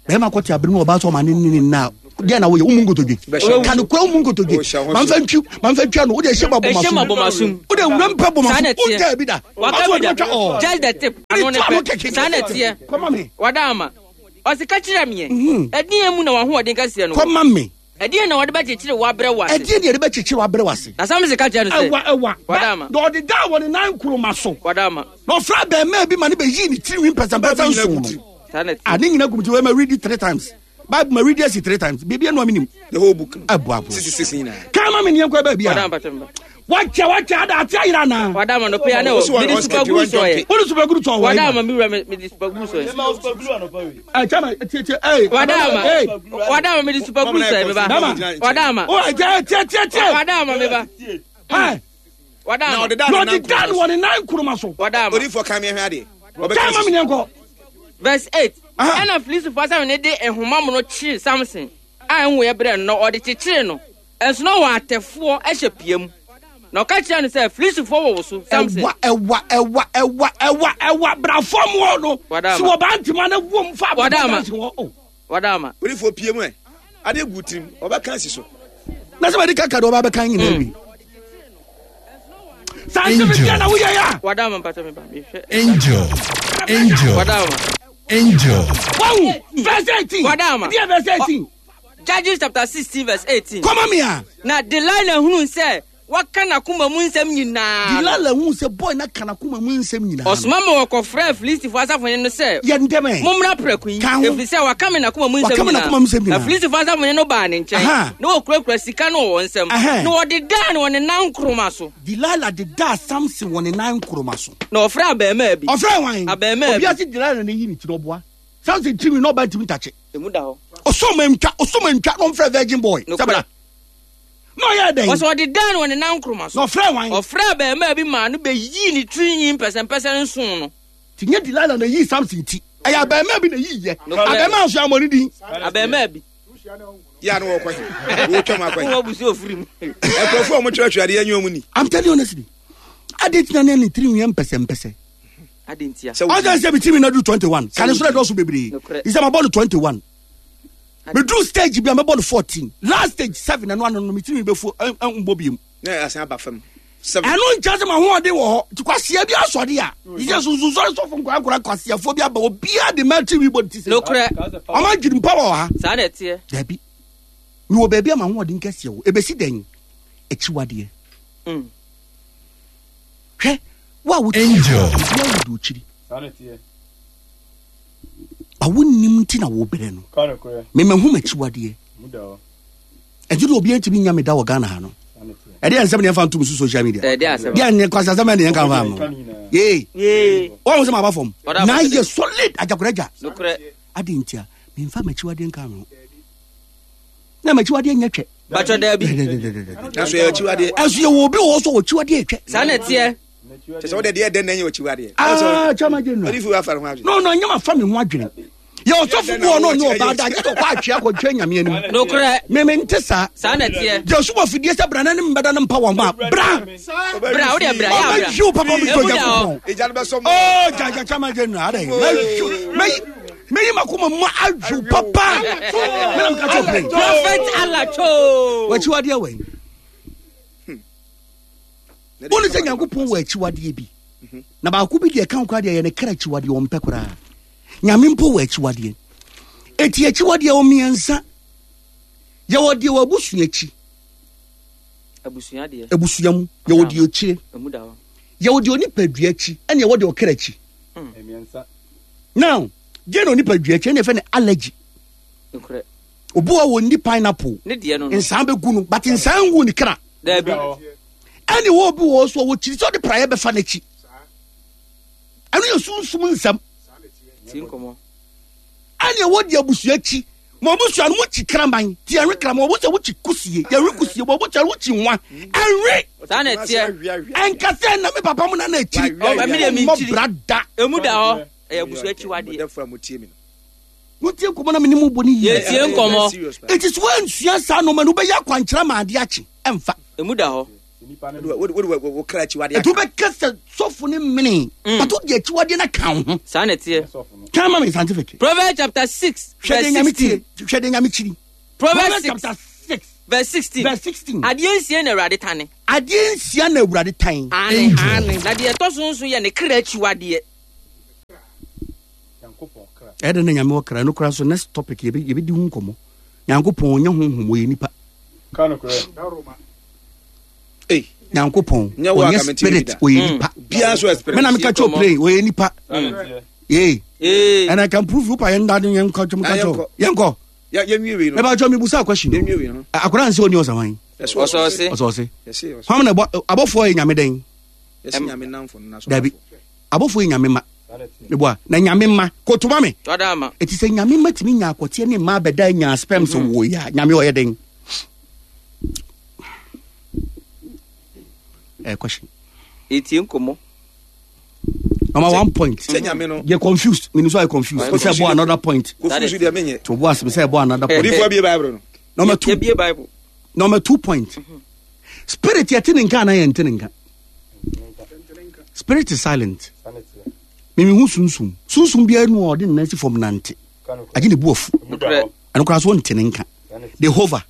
Bɛrima kɔte abere mu ɔbaa sɛ ɔma ne ne ne nna a deɛ na woyɛ womu nkotodwe. Ka nokorɛ womu nkotodwe. Mamfa ntwi mamfa ntwi ano wode ɛhyɛ ma bɔ masom. Wode wura mpɛ bɔ masom. Wogyaa bi da. Waka bi da. Just the tip. Ano ne pɛ. Saa na ɛteɛ. Kɔma me. Wada ama. Ɔse ka kyerɛ meɛ. Ɛdeɛn mu na w'ahoɔden kɛseɛ no wɔ? Kɔma me. Ɛdeɛn na wɔde bɛkyekyere wo abrɛ wo ase? Ɛdeɛn na yɛde bɛkyekyere wo abrɛ wo ase? Na Samson ka kyerɛɛ no sɛ. Ɛwa, ɛwa. Wada ama. Na ɔde daa wɔ ne nan nkoroma so. Wada ama. Na ɔfrɛ abɛɛmaa bi ma ne bɛyii ne tirinwi mpɛsɛmpɛsɛ nson no. Saa na ɛteɛ. Ah, ne nyina gu me ti. Wei ma read it three times. Bible ma read asi three times. Biribi anu a menim. The whole book. Ɛboa boa. 66 nyinaa. Kan ma me neɛ nkɔ baabi a. Wada ama pakyɛ mba. Wakyɛ wakyɛ ada ate ayera anaa? Wada ama no pɛ ne o. Mede super glue sɔ yɛ. Wode super glue sɔ wɔ. Wada ama me wura mede super glue sɔ yɛ. Ɛ chama tie tie ee. Wada ama. Wada ama mede super glue sɔ yɛ me ba. Wada ama. O tie tie tie tie. Wada ama me ba. Ɛ. Wada ama. Na ɔde da no wɔ ne nan nkoroma so. Wada ama. Odifo kan mi hwɛ adeɛ. Kan ma mi neɛ nkɔ. Verse 8. Ɛna Filistifo asafo ne de nhoma mono kyeree Samson a ɛnwoeɛ brɛɛ no na ɔde kyekyeree no. Nso na ɔwɔ atɛfoɔ hyɛ pia mu. Na ɔka kyerɛɛ no sɛ, Filistifoɔ wɔ wo so, Samson. Ɛwa, ɛwa, ɛwa, ɛwa, ɛwa, ɛwa, bra fam hɔ no. Si wɔ baa ntoma na wom fa abɛbɔ dansi hɔ. Oh. Wada ama. Odifoɔ pie mu ɛ. Adeɛ gu tirim, ɔbɛka asi so. Na sɛ bɛde kaka deɛ ɔba bɛka nyinaa wi. Saa nsɛm deɛ na woyɛ ya. Wada ama mpatɔ me ba. Mehwɛ. Angel. Angel. Wada ama. Angel. Wawu, verse 18. Wada ama. Deɛ verse 18. Judges chapter 16 verse 18. Kɔma me a. Na Delilah hunuu sɛ waka n'akoma mu nsɛm nyinaa. Delilah hunuu sɛ boy na ka n'akoma mu nsɛm nyinaa. Ɔsoma ma wɔkɔfrɛɛ Filistifoɔ asafohene no sɛ. Yɛ ntɛm ɛ. Mommra prɛko yi. Ka ho. Ɛfiri sɛ waka me n'akoma mu nsɛm nyinaa. Waka me n'akoma mu nsɛm nyinaa. Na Filistifoɔ asafohene no baa ne nkyɛn. Na wɔkurakura sika no wɔ wɔn nsam. Na wɔdedaa no wɔ ne nan nkoroma so. Delilah dedaa Samson wɔ ne nan nkoroma so. Na ɔfrɛɛ abarimaa bi. Ɔfrɛɛ hwan? Abarimaa bi. Obiara se Delilah na eyi ne ti na ɔboa. Samson tirinwi na ɔba ntumi ntakye. Emu da hɔ. Ɔsɔ ma ntwa, ɔsɔ ma ntwa na ɔmfrɛ virgin boy. Nokorɛ. Sɛ bra. Na ɔyɛɛ dɛn? Ɔsɛ ɔde daa no wɔ ne nan nkoroma so. Na ɔfrɛɛ hwan? Ɔfrɛɛ abarimaa bi maa no bɛyii ne tirinwi mpɛsɛmpɛsɛ nson no. Ti nyɛ Delilah na eyii Samson ti. Ɛyɛ abarimaa bi na eyii yɛ. Nokorɛ. Abarimaa nso yɛammɔ ne din. Abarimaa bi. Yɛ a na wɔkɔ he? Wɔtwa mu akɔ he? Wɔn abusu ofiri mu. Nkurɔfoɔ a wɔtwerɛtwerɛ adeɛ nyɛ wɔn ni. I'm telling you honestly. Ade nti na ne ne tirinwi yɛ mpɛsɛmpɛsɛ. Ade ntia. Ɔsɛ sɛ metumi na du 21. Kane so na ɛdɔɔso bebree. Isɛ mabɔ no 21. Meduru stage bi a mɛbɔ no 14. Last stage 7 ɛno ano no metumi bɛfu mbɔ biom. Na asan aba fam. Ɛno nkyɛ sɛ mahoɔden wɔ hɔ. Nti kwasia bi asɔre a. Isɛ sunsunsɔre sɔfo nkorankora kwasiafoɔ bi aba obiara de ma tiri bɔ ne ti sɛ. Nokorɛ. Ɔma adwiri mpa wɔ ha. Saa na ɛteɛ. Dabi. Mewɔ baabi a mahoɔden kɛseɛ wɔ. Ɛbɛsi dɛn? Akyiwadeɛ. Mm. Hwɛ, wo a wote Angel. obi awu di okyiri. Ba wonnim nti na wobrɛ no. Memahu m'akyiwadeɛ. Ɛnti de obi ntumi nya me da wɔ Ghana ha no. Ɛde yɛ nsɛm ne yɛmfa ntom so social media. Deɛ nyɛ kwasi asɛm ne yɛnka mfa no. Yee. Wɔn sɛ maba fam. Na yɛ solid agyakoragya. Ade ntia memfa m'akyiwadeɛ nka me ho. Na m'akyiwadeɛ nyɛ twɛ. Bàtchɔ daabi. Nanso yɛ akyiwadeɛ. Ɛnso yɛ wɔ obi wɔ hɔ so wɔ akyiwadeɛ twɛ. Saa na ɛteɛ. Kyɛ sɛ wode deɛ dɛn na ɛnyɛ akyiwadeɛ. Ah, kyɛ ma gye no. Ɔde fi afa ne ho adwene. No, no, ɛnyɛ ma fa me ho adwene. Yɛ ɔsɔfo bi wɔ no ɔne ɔbaa da gye sɛ ɔkɔ atwea akɔtwa nyame anim. Nokorɛ. Meme nte saa. Saa na ɛteɛ. Gye ɔsom afidie sɛ bra na ne mbɛda no mpa wɔn ma bra. Bra wo deɛ bra yɛ abra. Ɔbɛhwe wo papa mi tɔ Nyankopɔn. Egya no bɛsɔ mu. Oh gyagyakya ma gye nura adɛ. Mɛyi makoma mu ahwe papa. Mena meka kyɛ ɔpere. Prophet Alacho. Wakyiwadeɛ wɛn. Wone sɛ Nyankopɔn wɔ akyiwadeɛ bi. Na baako bi deɛ ɛka koraa deɛ yɛ ne kra akyiwadeɛ ɔmpɛ koraa. Nyame mpo wɔ akyiwadeɛ. Eti akyiwadeɛ wɔ mmiɛnsa. Yɛwɔ deɛ wɔ abusua akyi. Abusua deɛ. Abusua mu. Yɛwɔ deɛ akyire. Yɛwɔ deɛ onipadua akyi ɛne yɛwɔ deɛ ɔkra akyi. Now, deɛ na onipadua akyi ɛne yɛfɛ no allergy. Obi wɔ wɔ nni pineapple. Nsan bɛgu no but nsan ngu ne kra. Ɛne wɔ obi wɔ so a wɔkyiri sɛ ɔde praeɛ bɛfa n'akyi. Ɛno yɛ sunsum nsɛm. Ɛne ɛwɔ deɛ abusua akyi. Ma abusua no wokyi kraman ti ɛnwe kraman wɔn sɛ wokyi kusie yɛnwe kusie wɔn sɛ wokyi nwa ɛnwe. Saa na ɛteɛ. Ɛnka sɛ ɛna me papa mu na na akyiri. Mmɔ bra da. Emu da hɔ ɛyɛ abusua akyiwadeɛ. Wotie nkɔmmɔ na mene mu bɔ ne yie. Yɛtie nkɔmmɔ. Eti so woansua saa nneɛma no wobɛyɛ akwankyerɛ ma adeɛ akye ɛmfa. Emu da hɔ. Ɛti wobɛka sɛ sɔfo ne mene mm. but wode akyiwadeɛ no ka wo ho. Saa na ɛteɛ. Kan ma me scientific. Proverbs chapter 6 verse 16. Hwɛ deɛ nyame kyiri. Proverbs chapter 6 verse 16. Verse 16. Adeɛ nsia na Awurade tane. Adeɛ nsia na Awurade tan. Ane. Na deɛ ɛtɔ so nso yɛ ne kra akyiwadeɛ. Ɛdɛ na nyame wɔ kra no kora so next topic yɛbɛdi ho nkɔmmɔ. Nyankopɔn ɔnyɛ honhom ɔyɛ nipa. Nyankopɔn ɔnyɛ spirit ɔyɛ mm. nipa. Mena meka kyɛ ɔplane ɔyɛ nipa. Ee. And I can prove you pa yɛn dade yɛn kɔ kyɛm ka kyɛ yɛn kɔ. Mɛba kyɛ mi busa question. Akora nse oni ɔsaman. Ɔsɔɔse. Ɔsɔɔse. Hwam na abɔfoɔ yɛ nyame dɛn? Dabi. Abɔfoɔ yɛ nyame ma. Meboa na nyame ma kotoma me. Eti sɛ nyame ma tumi nya akɔteɛ ne mmaa bɛda nya sperms mm-hmm. wɔ ya nyame ɔyɛ den. Eh, question. Etie nkɔmɔ. Number 1 point. Sɛ nyame no. Yɛ confused. Minu so ayɛ confused. Sɛ ɛbɔ another point. Confused deɛ menyɛ. To bo ase sɛ ɛbɔ another point. Odifo abie Bible no. Number 2. Yɛ Bible. Number 2 point. Mm-hmm. Spirit yɛ te ne nka anaa yɛ nte ne nka. Spirit is silent. Mimi hu sunsum. Sunsum biara nu a ɔde ne nan si fam nante. Agye ne bu afu. Ɛno koraa so ɔnte ne nka. They hover.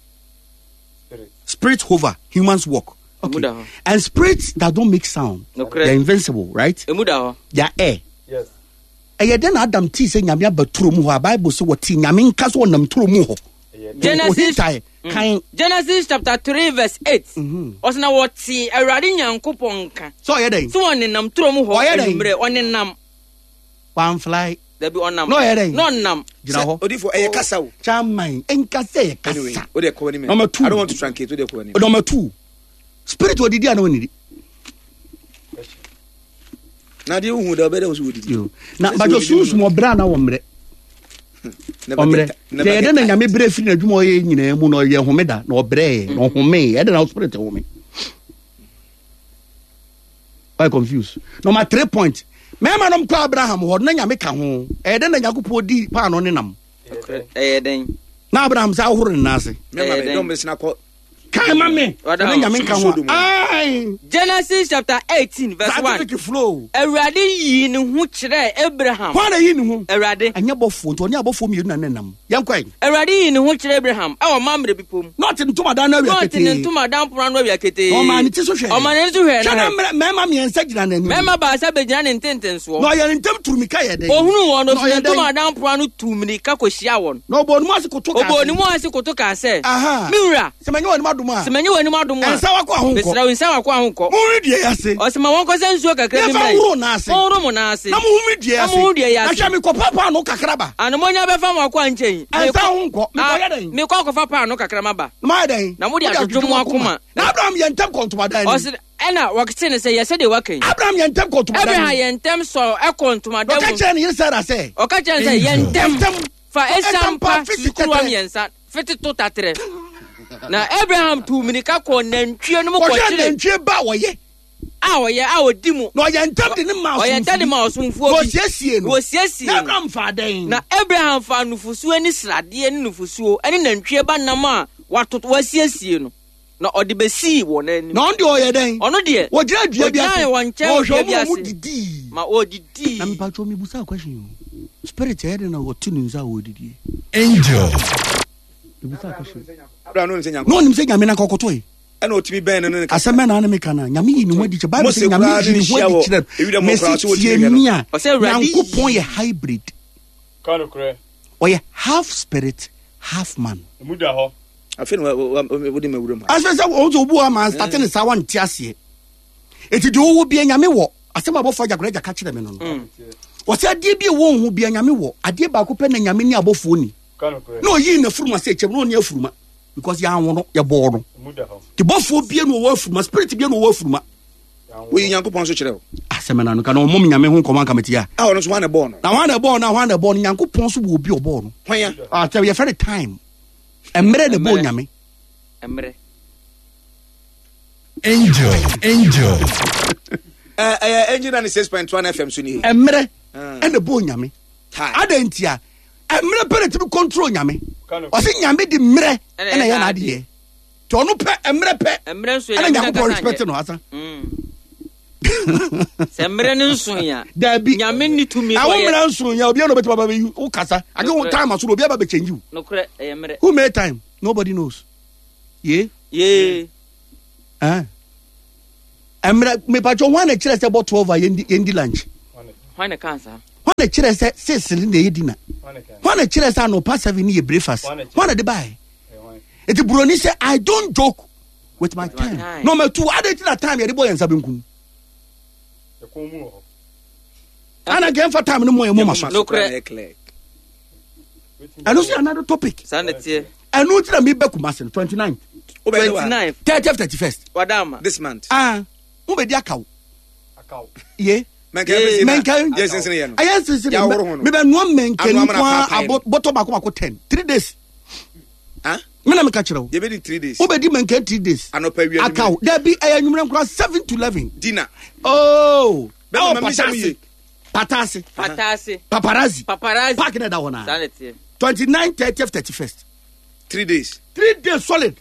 Spirit hover. Humans walk. Okay. And spirits that don't make sound. They're invincible, right? They are air. Yes. Ɛyɛ dɛn na Adam tii sɛ Nyame aba turo mu hɔ a Bible sɛ wɔtee Nyame nka sɛ ɔnam turo mu hɔ. Genesis, kan. Genesis chapter 3 verse 8. Ɔsɛ na wɔtee Awurade Nyankopɔn nka. Sɛ ɔyɛ dɛn? Sɛ ɔnenam turo mu hɔ Ɔyɛ dɛn? anwummerɛ ɔnenam. Wamfly. Dabi ɔnam. Na ɔyɛ dɛn? Na ɔnam. Gyina hɔ. Odifo ɛyɛ kasa o. Chairman, nka sɛ yɛ kasa. Anyway, o de kɔ anim. Number 2. I don't want to truncate. O de kɔ anim. Number 2. Spirit odidi ana onidi? Na deɛ wohu da ɔbɛdɛ wo so wɔdidi. Na bajo sunsum ɔbrɛ ana wɔmmerɛ. Ɔmmerɛ. Deɛ yɛdɛ na nyame brɛ firi n'adwuma ɔyɛ nyinaa mu na ɔyɛ homeda na ɔbrɛɛ na ɔhomee ɛdɛ na spirit home. Why confused? Number 3 point. Mmarima nom kɔ Abraham hɔ na nyame ka ho. Ɛyɛ dɛ na Nyankopɔn di paano ne nam. Ɛyɛ dɛn? Na Abraham sɛ ahohoro ne nan ase. Mmarima bɛ dɔm bɛ sena kɔ Kan ma me. Ɛne nyame nka ho. Ae. Genesis chapter 18 verse 1. Scientific flow. Awurade yii ne ho kyerɛɛ Abraham. Hwan na yii ne ho? Awurade. Ɛnyɛ bɔfoɔ nti ɔne abɔfoɔ mmienu na ne nam. Yɛnkɔ ɛ. Awurade yii ne ho kyerɛɛ Abraham ɛwɔ Mamre bepɔ mu. Na ɔte ne ntomadan no awia Na ɔte ketee. ne ntomadan pono ano awia ketee. Na ɔmaa ne ti so hwɛɛ. Ɔmaa n'ani so hwɛɛ Hwɛ na na hwɛ. mmarima mmiɛnsa gyina n'anim. Mmarima baasa bɛgyina ne ntentensoɔ. Na ɔyɛ ne ntam turu mmirika yɛ dɛn? Ohunuu wɔn no, Na ɔfiri ne ɔyɛ dɛn? ntomadan pono ano tuu mmirika kɔhyiaa wɔn. Na ɔbɔɔ ne mu ase koto kaa Ɔbɔɔ sɛ. ne mu ase koto kaa sɛ, Aha. Me wura, Sɛ manya w'anim adom a. sɛ manya w'anim adom a. Nsa w'akoa ho nkɔ. Mesrɛ wo, nsa w'akoa ho nkɔ. Monhuri dua yi ase. Ɔse ma wɔnkɔsa nsuo kakra bi Yɛmfa mmrɛ. nhoro nan ase. Monhoro mo nan ase. Na monhu me dua yi Na ase. monhu dua yi Na ase. hwɛ, mekɔpa paanoo kakra ba. Ana monya bɛfa mo akoa nkyɛn? Nsa ho nkɔ. Mekɔyɛ dɛn? Mekɔ akɔfa paanoo kakra maba. Na mayɛ dɛn? Na mode adwodwo mo akoma. Na Abraham yɛ ntɛm kɔ ntomadan no mu. Ɔse, ɛna wɔte ne sɛ, yɛ sɛdeɛ woaka yi. Abraham yɛ ntɛm kɔ ntomadan Abraham mu. yɛ ntɛm sɔɔ ɛkɔ ntomadan Na ɔka mu. kyerɛɛ ne yere Sara sɛ. Ɔka kyerɛɛ no sɛ, yɛ ntɛm. Ntɛm. Fa esiam pa fiti susukuruwa tɛtrɛ. mmiɛnsa fete to taterɛ. Na Abraham tuu mmirika kɔɔ nantwie no mu Kɔhwɛ kɔkyeree. nantwie ba a wɔyɛ. A ɔyɛ a ɔdi mu. Na ɔyɛ ntɛm de ne maa Ɔyɛ ntɛm de maa ɔsomfoɔ Na bi. ɔsiesiee no. Na ɔsiesiee Na no. Abraham faa dɛn? Na Abraham faa nufosuo ne sradeɛ ne nufosuo ne nantwie ba nam a watoto wasiesie no, na ɔde bɛsii wɔn anim. Na ɔno deɛ ɔyɛ dɛn? Ɔno deɛ, Ɔgyina dua bi ase. ɔgyinaa wɔn nkyɛn Na wɔ ɔhwɛ dua bi wɔn a wɔn ase. didii. Ma wɔdidii. Na mepatwɔ mebusa question o. Spirit ɛyɛ dɛn na ɔte ne nsa a ɔredidie? Angel. Mebusa question. Abraham no nim sɛ Na Nyankopɔn ɔnim sɛ Nyame na nka ɔkɔtɔe. ɛna ɔtumi bɛn no ne ne kasa. Asɛm bɛn na ne meka no a Nyame yi ne ho adi kyerɛ Bible Mose sɛ Nyame koraa yi ne ne ho hyia adi wɔ kyerɛ ewira mu mesi koraa, sɛ wɔtumi tie hwɛ no. mi a Ɔsɛ Awurade yi- Nyankopɔn yɛ hybrid. Ɔyɛ half spirit half man. Afei na wode ma wuram ha. Asɛ sɛ wɔn sɛ obu ama nstate ne saa wante aseɛ. Eti deɛ ɔwɔ bia Nyame wɔ. Asɛm a abɔfoɔ agyakora agya ka kyerɛ me no no. Ɔsɛ adeɛ bi a ɛwɔ ho bia Nyame wɔ. Adeɛ baako pɛ na Nyame ne abɔfoɔ ni. Na ɔyii n'afuruma sɛ kyɛm na ɔne afuruma because yɛanwo no yɛbɔɔ no. Te bɔfoɔ bia na ɔwɔ afuruma spirit bia na ɔwɔ afuruma. Woyi Nyankopɔn nso kyerɛ wo. Asɛm na no ka na ɔmom Nyame ho nkɔmmɔ anka mete a. A ɔno nso hwan na ɛbɔɔ no? Na hwan na ɛbɔɔ no a hwan na ɛbɔɔ no Nyankopɔn nso wɔ obi a ɔbɔɔ no. Hwan ya? Ah, sɛ yɛfrɛ no time. Mmerɛ na ɛbɔɔ Mmerɛ. Nyame. Mmerɛ. Angel. Angel. Ɛyɛ Angel 96.1 FM so nie. Mmerɛ ɛna ɛbɔɔ Nyame. Time. Adɛn ntia? Mmerɛ pɛ na ɛtumi control Nyame. Ɔse Nyame de mmerɛ Ɛna ɛna ɛyɛ ɛyɛ n'adeɛ. Nti ɔno pɛ mmerɛ pɛ Mmerɛ nso ɛna Nyame Nyankopɔn nankasa respect nyɛ. no asa. Sɛ mmerɛ no nso ya. Dabi. Nyame nni tumi Awo kɔyɛ. mmerɛ nso ya obiara na obetumi aba bɛyi wo kasa. Ade wo Nokorɛ. time aso na obiara ba bɛ change wo. Nokorɛ ɛyɛ mmerɛ. Who made time? Nobody knows. Ye? Yee. Eh. Mmerɛ mepatwɔ hwan na kyerɛ sɛ bɔ 12 a yɛndi yɛndi lunch? Hwan na kaa saa? Hwan na kyerɛ sɛ 6 ne na ɛyɛ dinner? Hwan na kyerɛ sɛ anɔpa 7 ne yɛ breakfast? Hwan na de baeɛ? Eti buroni sɛ I don't joke with my time. time. Number 2, adɛn nti na time yɛde bɔ yɛn nsa benkum? Ana nka yɛmfa time no mmɔ yɛn moma so. Nokorɛ. Clear. Ɛno nso yɛ another topic. Saa na ɛteɛ. Ɛno nti na mebɛ Kumasi no 29th, Wobɛyɛ wa? 29. 30th, 31st. Wadama. This month. Ah, wobɛdi akaw. Ye. Mɛnka yɛ Mɛnka yɛ sensene yɛ no. Ɛyɛ nsensene. Yɛahoro ho no. Mebɛnoa mɛnka Anoa mana nko ara paapae no. abɔ bɔtɔ baako baako 10. 3 days. Ah? Me na meka kyerɛ wo. Yɛbɛdi 3 days. Wobɛdi mɛnka 3 days. Anɔpa awia Akaw. Dabi ɛyɛ anwummerɛ nkora 7 to 11. Dinner. Oh. Bɛma Ɛwɔ ma mehyɛ mu Patase. yie. Patase. Patase. Paparazzi. Paparazzi. Park na ɛda hɔ naa. Saa na ɛteɛ. 29, 30th, 31st. 3 days. 3 days solid.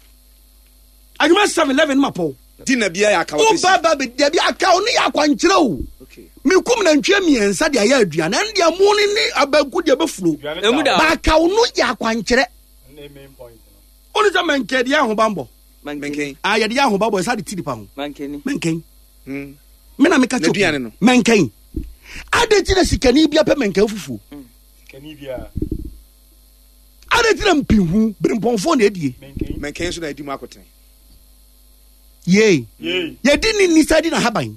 Anwummerɛ 7, 11 ma pɔw. Dinner biara yɛ akaw Wo apɛsi. ba ba bɛ dabi akaw ne yɛ akwankyerɛ o. Okay. Mekum nantwie mmiɛnsa de ayɛ aduane. Ɛno deɛ mo ne ne abanku deɛ bɛfuro. Emu da hɔ. Baakaw no yɛ akwankyerɛ. Wone sɛ mɛnkɛ deɛ ahobammɔ. Mankeni. Mɛnkɛn. Ah, yɛde yɛ ahobammɔ ɛsa de ti nipa ho. Mankeni. Mɛnkɛn. Mm. Me na meka kyerɛ N'aduane no. Mɛnkɛn. Adɛn nti na sikani bi apɛ mɛnkɛn fufuo? Adɛn nti na mpihu berempɔnfoɔ na ɛdie? Mɛnkɛn nso na adi mu akotene. Yei. Yɛdi ne nisa di n'ahaban.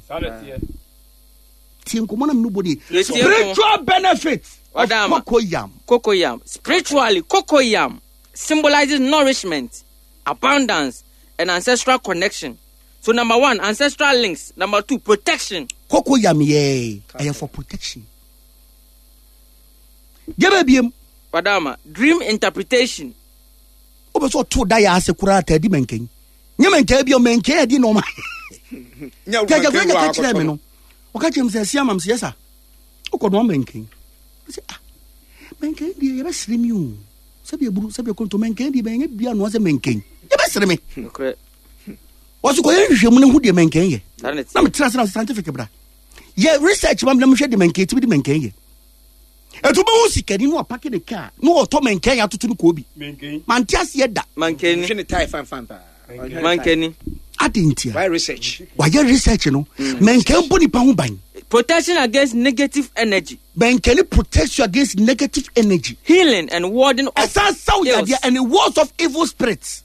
Tie nkɔmmɔ na mene bɔ nie. Yɛtie nkɔmmɔ. Spiritual benefit of Ɔdaama. cocoyam. Cocoyam. Spiritually, cocoyam symbolizes nourishment, abundance, and ancestral connection. So number 1, ancestral links. Number 2, protection. Cocoyam yɛ ɛyɛ for protection. Deɛ bɛbiem. Wadama, dream interpretation. Wopɛ sɛ ɔto da yɛ ase koraa taa di mɛnkɛn. Nyɛ mɛnkɛn bi o mɛnkɛn adi nɔɔma. Nyɛ Kɛkɛ mɛnkɛn kura wɔ ka kyerɛ akɔtɔ me no. no. Ɔka kyerɛ me sɛ ɛsi ama me sɛ yɛsa. Wokɔ noa mɛnkɛn. Sɛ ah mɛnkɛn deɛ yɛbɛsere mi o. Sɛbi eburu sɛbi ekonto mɛnkɛn deɛ bɛnyɛ bia noa sɛ mɛnkɛn. Yɛbɛsere me. Nokorɛ. Wɔso kɔyɛ nhwehwɛmu no hu deɛ mɛnkɛn yɛ. Saa na ɛteɛ. Na metra ase na scientific bra. Yɛ research ma me na mehwɛ deɛ mɛnkɛn timi de mɛnkɛn yɛ. Ɛtu bɛhu sikani no apake ne kaa na ɔtɔ mɛnkɛn atoto no kɔɔ bi. Mante aseɛ da. Mankeni. Hwɛ ne tie fan fan paa. Mankeni. Ade ntia. Why research? Wayɛ research no. Mɛnkɛn bɔ nipa ho ban. Protection against negative energy. Mɛnkɛn protects you against negative energy. Healing and warding off Ɛsan saw ills. yadeɛ and it wards off evil spirits.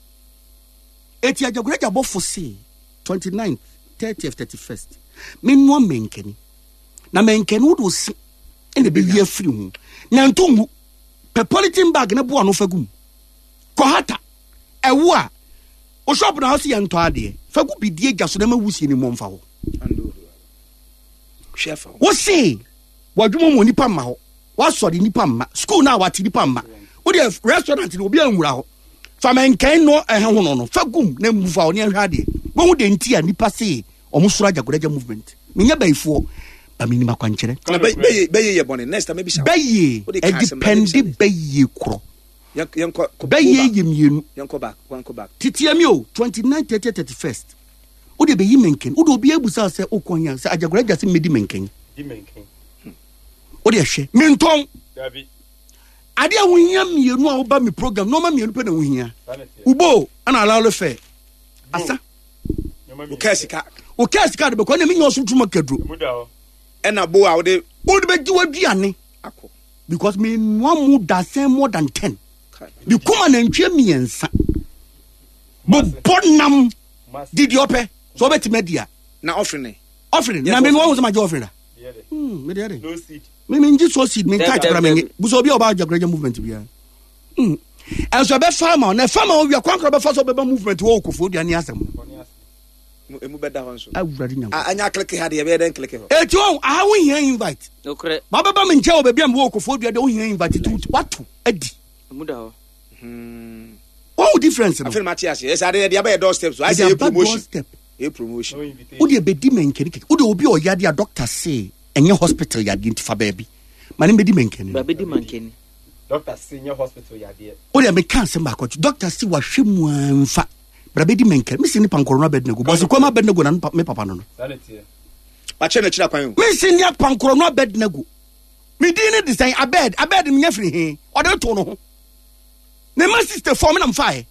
Eti agyagoragya bɔfo se 29th, 30th, 31st. Mennoa mɛnkɛni. Na mɛnkɛni wode ose ɛna ɛbɛyi afiri ho. Na nto ngu. Pɛ polythene bag ne boa no fa gu mu. Kɔhata. Ɛwo a wo shop na hɔ se yɛntɔ adeɛ. Fa gu bidie gya so na ma wusie ne mmɔ mfa hɔ. Hwɛ fa ho. Wo se w'adwuma mu nipa mma hɔ. W'asɔre nipa mma. School na wate nipa mma. Wo deɛ restaurant no obi anwura hɔ. Fa mɛnkɛn no ɛhɛ ho no no. Fa gum na mmu fa hɔ ne ɛhwɛ adeɛ. Wohu de nti a nipa se Ɔmo soro Ajagoraja movement. Menyɛ bayifoɔ, ba menim akwankyerɛ. Na bɛyɛ bɛyɛ yɛ bɔne. Next time ebisa. Bɛyɛ ɛdipɛnde bɛyɛ korɔ. Bɛyɛ yɛ mmienu. Yɛnkɔ back, yɛnkɔ back. Titiɛ mi o, 29, 30, 31st. Wode bɛyi mɛnkɛn. Wode obi abusa sɛ wokɔ hia sɛ Ajagoraja sɛ mmɛdi mɛnkɛn. Wode ɛhwɛ. Mentɔn. Adeɛ a wohia mmienu a woba me program nneɛma mmienu pɛ na wohia. Wobo ɛna alalo fɛ. Asa. Wokaa sika. Wokaa sika de bɛkɔ na menya ɔsom tuma kaduro. Ɛna bo a wode. Wode bɛgye w'aduane. Akɔ. Because menoa mu dasɛn more than ten. Mekuma nantwie mmiɛnsa. Bobɔ nam. Didi ɔpɛ. Sɛ ɔbɛtumi adi a. Na ɔfene. Ɔfene. Na menoa wo sɛ magye ɔfene da. Mede ɛde. Me me ngye so seed me ntae kora me nye. Busa obi a ɔba Ajagoraja movement biara. Ɛnso ɛbɛfa ama na ɛfa ma owia kwan kora bɛfa so ɔbɛba movement wɔ okofo dua ne asɛm. Emu bɛda hɔ nso. Awurade nyanko. Anya kleke ha deɛ ɛbɛyɛ dɛn kleke hɔ. Eti wɔn aha wo hia invite. Nokorɛ. Ba bɛba me nkyɛn wɔ baabi a mewɔ okofo dua deɛ wo hia invite ti wato adi. Emu da hɔ. Wɔn difference no. Afei ma te ase. Ɛsɛ ade yɛde abɛyɛ doorstep so. Ayɛ sɛ yɛ promotion. Yɛ promotion. Wo deɛ bɛdi mɛnkɛni kɛkɛ. Wo deɛ obi a ɔyɛ adeɛ a doctor se ɛnyɛ hospital yadeɛ nti fa baabi ma ne mbɛdi mankani no. Bɛdi mankani. Doctor se nyɛ hospital yadeɛ. O deɛ meka asɛm baako akyi doctor se wahwɛ mu a nfa bra bɛdi mankani mesi ne pankɔrɔ no abɛdinago bɔsi kɔm abɛdinago na me papa no no. Wakyɛ no akyiri akwan o. Mesi ne pankɔrɔ no abɛdinago me din ne de sɛn abɛd abɛd menya firi he ɔde to no ho ne ma 64 me na mfaeɛ.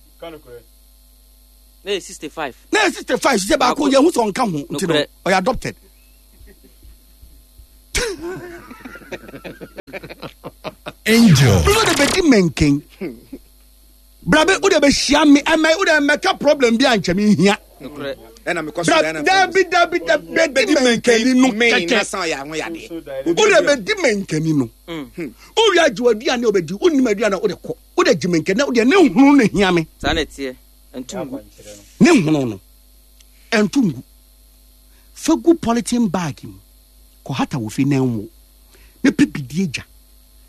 Na yɛ 65. Na yɛ 65 sɛ baako yɛ ho sɛ ɔnka ho nti no ɔyɛ adopted. Angel. Nso de bɛdi mɛnkɛn. Brabe wo de bɛhyia me ɛmɛ wo de mɛka problem bi ankyɛ me nhia. Ɛna mekɔ so Bra dabi dabi dabi bɛdi mɛnkɛni no kɛkɛ. Wo de bɛdi mɛnkɛni no. Wo wi agye w'aduane a wobɛdi wo nim aduane a wode kɔ. Wo de gye mɛnkɛni na wo deɛ ne hunu no hia me. Saa na ɛteɛ. Ɛnto ngu. Ne hunu no ɛnto ngu. Fa gu polythene bag mu, kɔhata wɔ fie na ɛnwo, na pɛ bidie gya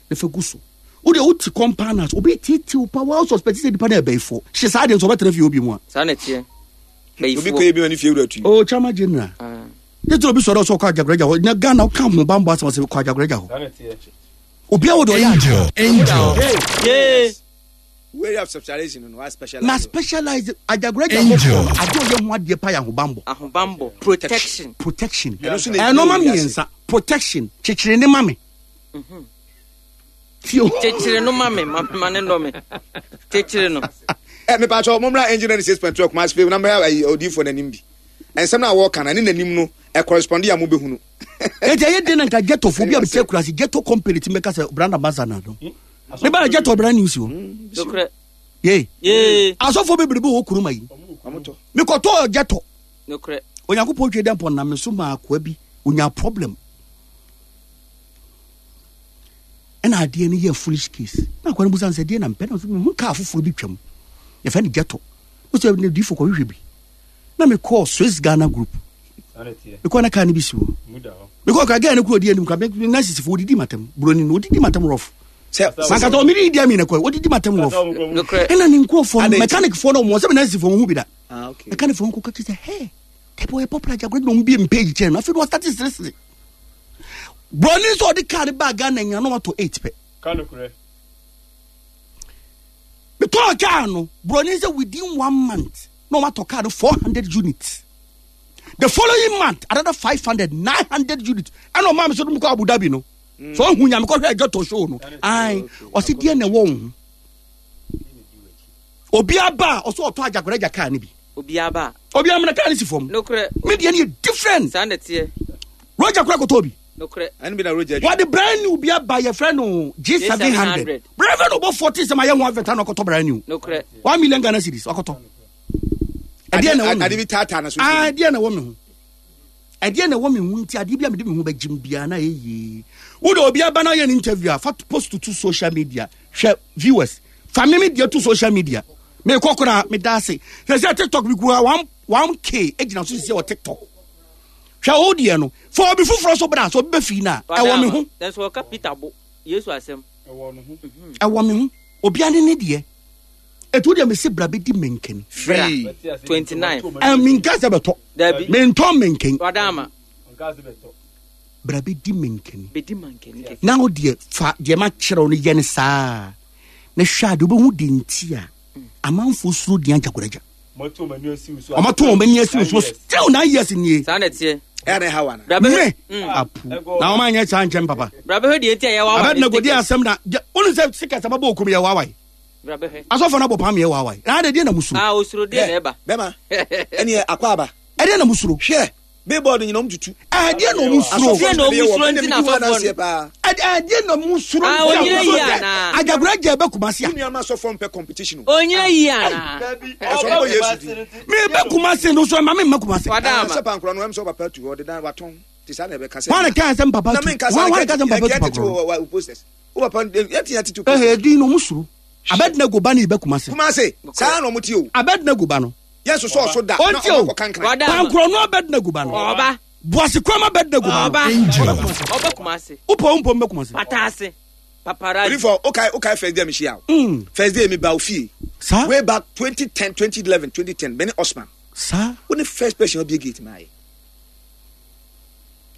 na fa gu so. Wo deɛ wote compound house, obi tetew pa, wa suspect sɛ nipa no yɛ bɛyifoɔ. Hye saa deɛ nso ɔbɛtena fie obi mu a. Saa na ɛteɛ. Bɛyifoɔ. Obi kɔyɛ bi ma ne fie wura tui. Oh, Chama General. Ah. Ne tɛ obi sɔrɔ sɛ ɔkɔ Ajagoraja hɔ. Na Ghana woka ho bambɔ asɛm sɛ kɔ Ajagoraja hɔ. Obi a wode ɔyɛ Angel. Angel. Yee. Way of specialization no, wa specialize. Na specialize Ajagoraja hɔ kɔ no, adeɛ ɔyɛ ho adeɛ pa yɛ ahobanbɔ. Ahobanbɔ. Protection. Protection. Ɛno nso na ɛdi Ɛnɔma wiase. mmiɛnsa. Protection. Kyekyere ne ma me. Tie o. Kyekyere no ma me, ma ma ne nnɔ me. Kyekyere no. Ɛ mepa kyɛw mommra Angel 96.2 Kumasi fie na mmra ayi odiyifoɔ n'anim bi. Nsɛm no a wɔka no ɛne n'anim no ɛ correspond a mobɛhunu. Eti ɛyɛ den na nka ghetto fo bi a mete akurase ghetto company ti mɛka sɛ brand ambassador no. Me ba ghetto brand news o. Nokorɛ. Ye. Yee. Asɔfo bebrebe wɔ kuruma yi. Ɔmotɔ. Mekɔtɔɔ ghetto. Nokorɛ. Onyankopɔn twe dɛ mpɔ nam me so maa akoa bi onya problem. Ɛna adeɛ no yɛ foolish case. Na akoa no busa no sɛ deɛ na mpɛ na ɔsɛ mehu kaa foforɔ bi twam. Yɛfɛ no ghetto. Wosɛ ne difo kɔhwehwɛ bi. Na mekɔɔ Swiss Ghana group. Mekɔɔ na kaa no bi si hɔ. Mekɔɔ kora gɛɛ no kura ɔdi anim kora na sisifo wɔdidi matam. Buroni no wɔdidi matam rough. Mankata ɔmene didi amina kɔ wɔdidi matam rough. Ɛna ne nkurɔfoɔ no mechanic foɔ no wɔn sɛ me na sisifoɔ wɔn ho bi da. Mechanic foɔ no kɔka kyerɛ sɛ hey tɛbi ɔyɛ popular gya kora na wɔn bie mpage kyɛn no afei de wɔstarte seresere. Buroni nso ɔde kaa no baa Ghana nyina na watɔ 8 pɛ. Metɔɔ kaa no buroni sɛ within one month na wɔatɔ kaa no 400 units. The following month another 500 900 units ɛna ɔmaa me so no mekɔ Abu Dhabi no. So ɔhu nya mekɔhwɛ adwatɔ show no. Ae ɔse deɛ na ɛwɔ wo ho. Obi aba a ɔsɛ ɔtɔ agyakoragya kaa no bi. Obi aba. Obi amena kaa no si fam. Nokorɛ. Me deɛ no yɛ different. Saa na ɛteɛ. Roger kora kɔtɔ bi. Nokorɛ. Ɛno bi na Roger atwa. Wɔde brand new bi aba yɛfrɛ no G700. Brɛfɛ no ɔbɔ 40 sɛ ma yɛ ho advert na ɔkɔtɔ brand new. Nokorɛ. 1 million Ghana cedis ɔkɔtɔ. Ɛdeɛ na ɛwɔ me ho. Ade bi taataa na so. Ah, ɛdeɛ na ɛwɔ me ho. Ɛdeɛ na ɛwɔ me ho nti adeɛ bi a mede me ho bɛgyem biara na ɛyɛ yie. Wode obi aba na ɔyɛ no interview a fa post to social media. Hwɛ viewers. Fa me me deɛ to social media. Mekɔ koraa meda ase. Sɛ sɛ TikTok bi kura 1k egyina so sisi wɔ TikTok. Hwɛ wo deɛ no. Fa obi foforɔ so bra sɛ obi bɛfii no a ɛwɔ me ho. Nanso ɔka Peter bo Yesu asɛm. Ɛwɔ me ho. Obiara ne ne deɛ. Ɛti wodeɛ mese bra bɛdi menkani. Free. 29. Menka sɛ bɛtɔ. Dabi. Mentɔ menkani. Wadama. Bra bɛdi menkani. Bɛdi mankani kɛkɛ. Na wo deɛ fa deɛ makyerɛ wo no yɛ no saa na hwɛ ade wobɛhu de nti a amanfoɔ suro din Agyagoragya. Ɔmato wɔn ani asi wo so. Ɔmato wɔn ani asi wo so still 9 years nie. Saa na ɛteɛ. Ɛyɛ na ɛha wa na. Bra bɛhwɛ. Me apu na wɔn anyɛ saa nkyɛn papa. Bra bɛhwɛ deɛ nti a yɛwɔ awa. Abɛdina godi asɛm na wonu sɛ sika sɛ bɛbɔ okum yɛ wawae. Bra bɛhwɛ. Asɔfo no abɔ pam yɛ wawae. Na ade deɛ na musuro. Ah, osuro deɛ na ɛba. Bɛma ɛneɛ akɔ aba. Ɛdeɛ na musuro. Hwɛ billboard nyina ɔm tutu. Ɛdeɛ na ɔmu suro. Deɛ na ɔmu suro nti na asɔfoɔ no. Ɛdeɛ na ɔmu suro. Ah, onyina yi ana. Agyagora gya ɛbɛ Kumasi a. Wo nua ma asɔfoɔ mpɛ competition o. Onyina yi ana. Ɛsɛ ɔmo bɔ Yesu din. Me bɛ Kumasi no so ɛma me mma Kumasi. Wada ama. Sɛ pankora no ɛm sɛ ɔpapa tu ɔde dan watɔn ti saa na ɛbɛka sɛ. Wɔn ka sɛ mpapa Na tu. me nka saa Wɔn wɔn ka sɛ mpapa tu yɛn tete pankora. wɔ wɔ posters. Wo papa yɛn ti yɛn tete Ɛhɛ posters. din na ɔmu suro. Abednego ba ne bɛ Kumasi. Kumasi saa na ɔmo ti o. Abednego ba no. Yɛn soso ɔso da na Ɔnti o. ɔmo akɔ kankran. Wada ama. Pankora no Abednego ba no. Ɔba. Boase kurom Abednego ba no. Ɔba. Angel. Ɔba Kumasi. Wopɔ wo mpɔ mbɛ Kumasi. Pataase. Paparazzi. Olifo okay okay first day mi hyia o. First day mi ba ofie. Saa. Way back 2010 2011 2010 bɛne Osman. Saa. Wo ne first person ɔbie gate maa yɛ.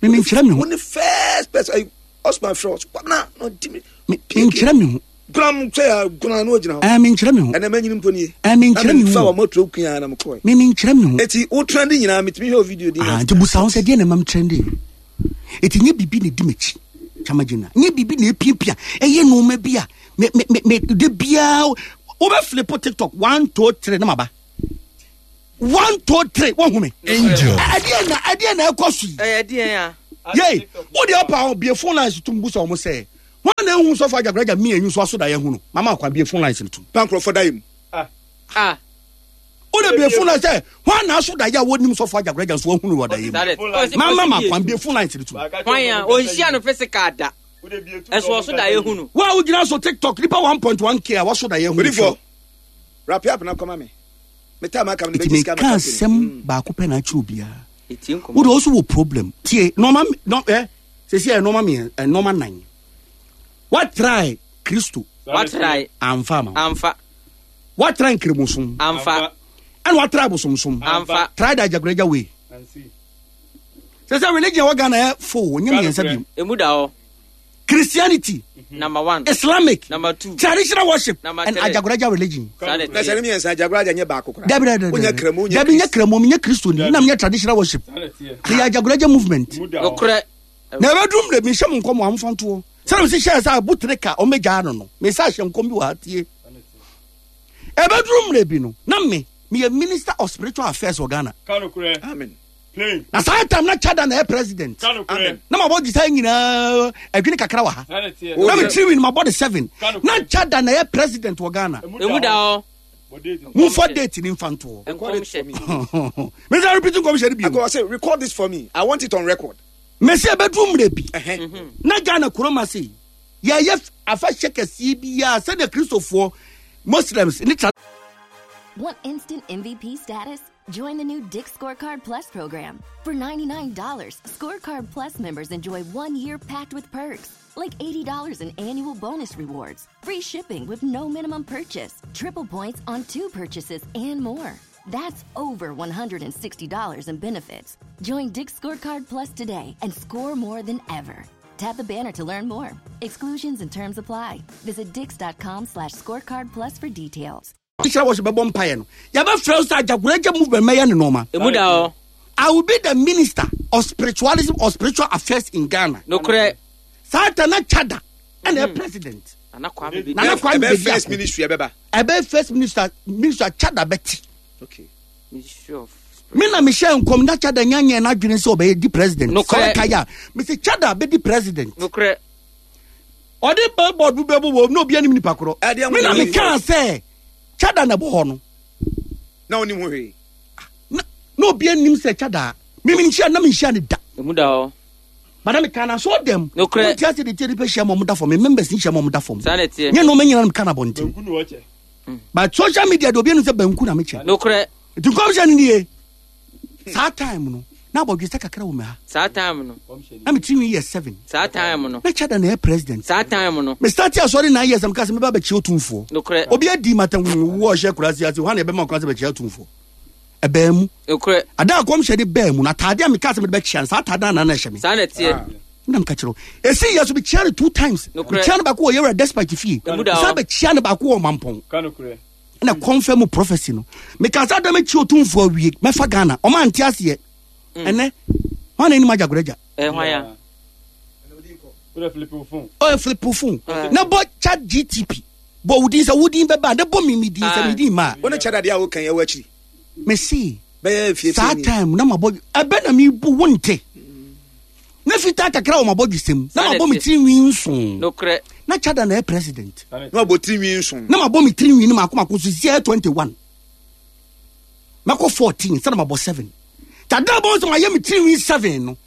Me menkyerɛ me ho. Wo ne first person ayi Osman frɛ ɔso kwabena na ɔdi mi. Me menkyerɛ me ho. Gram sɛ ya gona na ɔgyina hɔ. Ɛɛ menkyerɛ me ho. Ɛnɛ manyini mpo nie. Ɛɛ menkyerɛ me Na mefa ho. wɔ mɔtoro kua na mekɔɛ. Me menkyerɛ me ho. Eti wo trend nyinaa metumi hwɛ wo video di. Ah, nti busa ho sɛ deɛ na ɛma me trende. Eti nyɛ biribi na ɛdi m'akyi. Chama gyina. Nyɛ biribi na ɛpiapia. Ɛyɛ nneɛma bi a me me me me de biara wobɛflipo TikTok 1 2 3 na maba. 1 2 3 wohu me. Angel. Ɛdeɛ na ɛdeɛ na ɛkɔ so yi. Ɛyɛ deɛ a. Yei, wo deɛ ɔpa ho bie phone lines tum busa wɔn sɛ wɔn na ehu sɔfo Agyagoragya mmienu nso aso da yɛ hu no mama akwan bie phone lines no tum. Pankorɔfo da yɛ mu. Ah. Wo de bie phone lines sɛ wɔn na aso da yɛ a wɔnim sɔfo Agyagoragya nso wɔn hu no wɔ da yɛ mu. Mama ma kwan bie phone lines no tum. Hwan a ɔnhyia no physical da. Ɛso ɔso da yɛ hu no. Wo a wogyina so TikTok nipa 1.1k a wɔso da yɛ hu no. Odifo wrap up na kɔma me. Me time aka me Eti bɛgye sika meka ma asɛm baako pɛ na akyerɛ obiara. Etie nkɔmɔ. Wo de ɔso wɔ problem. Tie nɔɔma nɔ ɛ sɛsi ɛ nɔɔma mmiɛ ɛ nɔɔma nan. Wa try Kristo. Wa try. Amfa ama wo. Amfa. Wa try nkremosom. Amfa. Ɛna wa try bosomsom. Amfa. Try the Agyagoragya way. Sɛ sɛ religion wɔ Ghana yɛ fo nyɛ mmiɛnsa bi. Emu da hɔ. Christianity. Number one. Islamic. Number two. Traditional worship. Number and three. Agyagoragya religion. Saa na Na sɛ ne ɛteɛ. mmiɛnsa Agyagoragya nyɛ baako koraa. Dabi dabi dabi. Wonyɛ Kramo wonyɛ Dabi nyɛ Kramo nyɛ Kristo ni. Nam nyɛ traditional worship. Ɛyɛ Agyagoragya movement. Nokorɛ. Na ɛbɛduru mmerɛ bi nhyɛ mo nkɔm a momfa ntoɔ. Sɛdeɛ mesi hyɛɛ sɛ abotere ka ɔmmɛgyaa no no, mesa ahyɛ nkɔm bi wɔ ha tie. Ɛbɛduru mmerɛ bi no, na me meyɛ minister of spiritual affairs wɔ Ghana. Amen. Na saa time na Chada na ɛyɛ president. Amen. Na mabɔ gye saa nyinaa adwene kakra wɔ ha. Na me tiri win mabɔ de seven. Na Chada na ɛyɛ president wɔ Ghana. Emu da hɔ. Momfa date ni mfa ntoɔ. Record it for me. Mesa repeat nkɔmhyɛ no bio. Akɔ say record this for me. I want it on record. Mesi ɛbɛduru mmerɛ bi. Ɛhɛn. Na Ghana kurom ase yi, yɛyɛ afahyɛ kɛseɛ biara sɛdeɛ Kristofoɔ, Muslims ne tra Want instant MVP status? Join the new Dick's Scorecard Plus program. For $99, Scorecard Plus members enjoy 1 year packed with perks, like $80 in annual bonus rewards, free shipping with no minimum purchase, triple points on two purchases, and more. That's over $160 in benefits. Join Dick's Scorecard Plus today and score more than ever. Tap the banner to learn more. Exclusions and terms apply. Visit dicks.com/scorecard plus for details. Traditional worship bɛbɔ mpaeɛ no, yɛbɛfrɛ wo sɛ Agyagoragya movement mɛyɛ ne nneɛma. Emu da hɔ. I will be the minister of spiritualism or spiritual affairs in Ghana. Nokorɛ. Saa ta na Chada ɛna mm. president. Nana Kwame bi. Nana Kwame Ɛbɛ Bediako. first ministry ɛbɛba. Ɛbɛ first minister Chada bɛti. Okay. Ministry of. Me na mehyɛ nkɔm na Chada nyanyɛ n'adwene sɛ ɔbɛyɛ di president. Nokorɛ. Sɛ ɔka yɛ a, mese Chada bɛdi president. Nokorɛ. Ɔde billboard bi bɛbɔ wɔ na obi anim nipa korɔ. Ɛdeɛ Me na ho mekaa sɛ Chada na ɛbɔ hɔ no. Na onim ho hwee. Na obi anim sɛ Chada. Mimi nhyia na menhyia ne da. Emu da hɔ. Madam ka na so dɛm. Nokorɛ. Wọ́n ti ase de tie nipa hyia ma ɔmo da fam. Members ni hyia ma ɔmo da fam. Saa na ɛteɛ. Nyɛ nneɛma nyinaa na meka na abɔnten. But social media de obi anim sɛ banku na mekyɛ. Nokorɛ. Nti nkɔmhyɛ no nie. Saa time no. Na abɔdwesɛ kakra wɔ me ha. Saa time no. Na me tirinwi yɛ 7. Saa time no. Na Chada na ɛyɛ president. Saa time no. Me start asɔre 9 years na meka sɛ meba bɛkyia otumfoɔ. Nokorɛ. Obi adi matam wo ɔhyɛ kurase ase hwan na ɛbɛma kwan sɛ bɛkyia otumfoɔ. Ɛbaa mu. Nokorɛ. Ada a kɔmhyɛ de baa mu no ataade a meka sɛ mede bɛkyia no saa ataade no na na ɛhyɛ me. Saa na ɛteɛ. Na meka kyerɛ wo. Esi yɛ so mekyia no 2 times. Nokorɛ. Mekyia no baako wɔ Yɛwura Despite fie. Emu da hɔ. Mesan bɛkyia no baako wɔ Mampɔn. Ka nokorɛ. Na confirm prophecy no. Meka sɛ ada mɛkyi otumfoɔ awie mɛfa Ghana. Ɔma ante aseɛ. Ɛnɛ hwan na anim agyagoragya? Hwan ya? Wode flip wo phone. Ɔyɛ flip wo phone. Na bɔ chat GTP. Bɔ wo din sɛ wo din bɛba na bɔ me me din sɛ me din ma. Wo ne chat adeɛ a wokan ɛwɔ akyiri. Me se. Bɛyɛ fie Saa time na mabɔ ɛbɛ na mebu wo nte. Na fitaa kakra wɔ mabɔ dwesɛm. Na mabɔ me tiri nwi nson. Nokorɛ. Na chada na ɛyɛ president. Na mabɔ tiri nwi nson. Na mabɔ me tiri nwi no mako mako so sisi 21. Mɛkɔ 14 sɛ na mabɔ 7. Tada bɔ nso mayɛ me tiri nwi 7 no.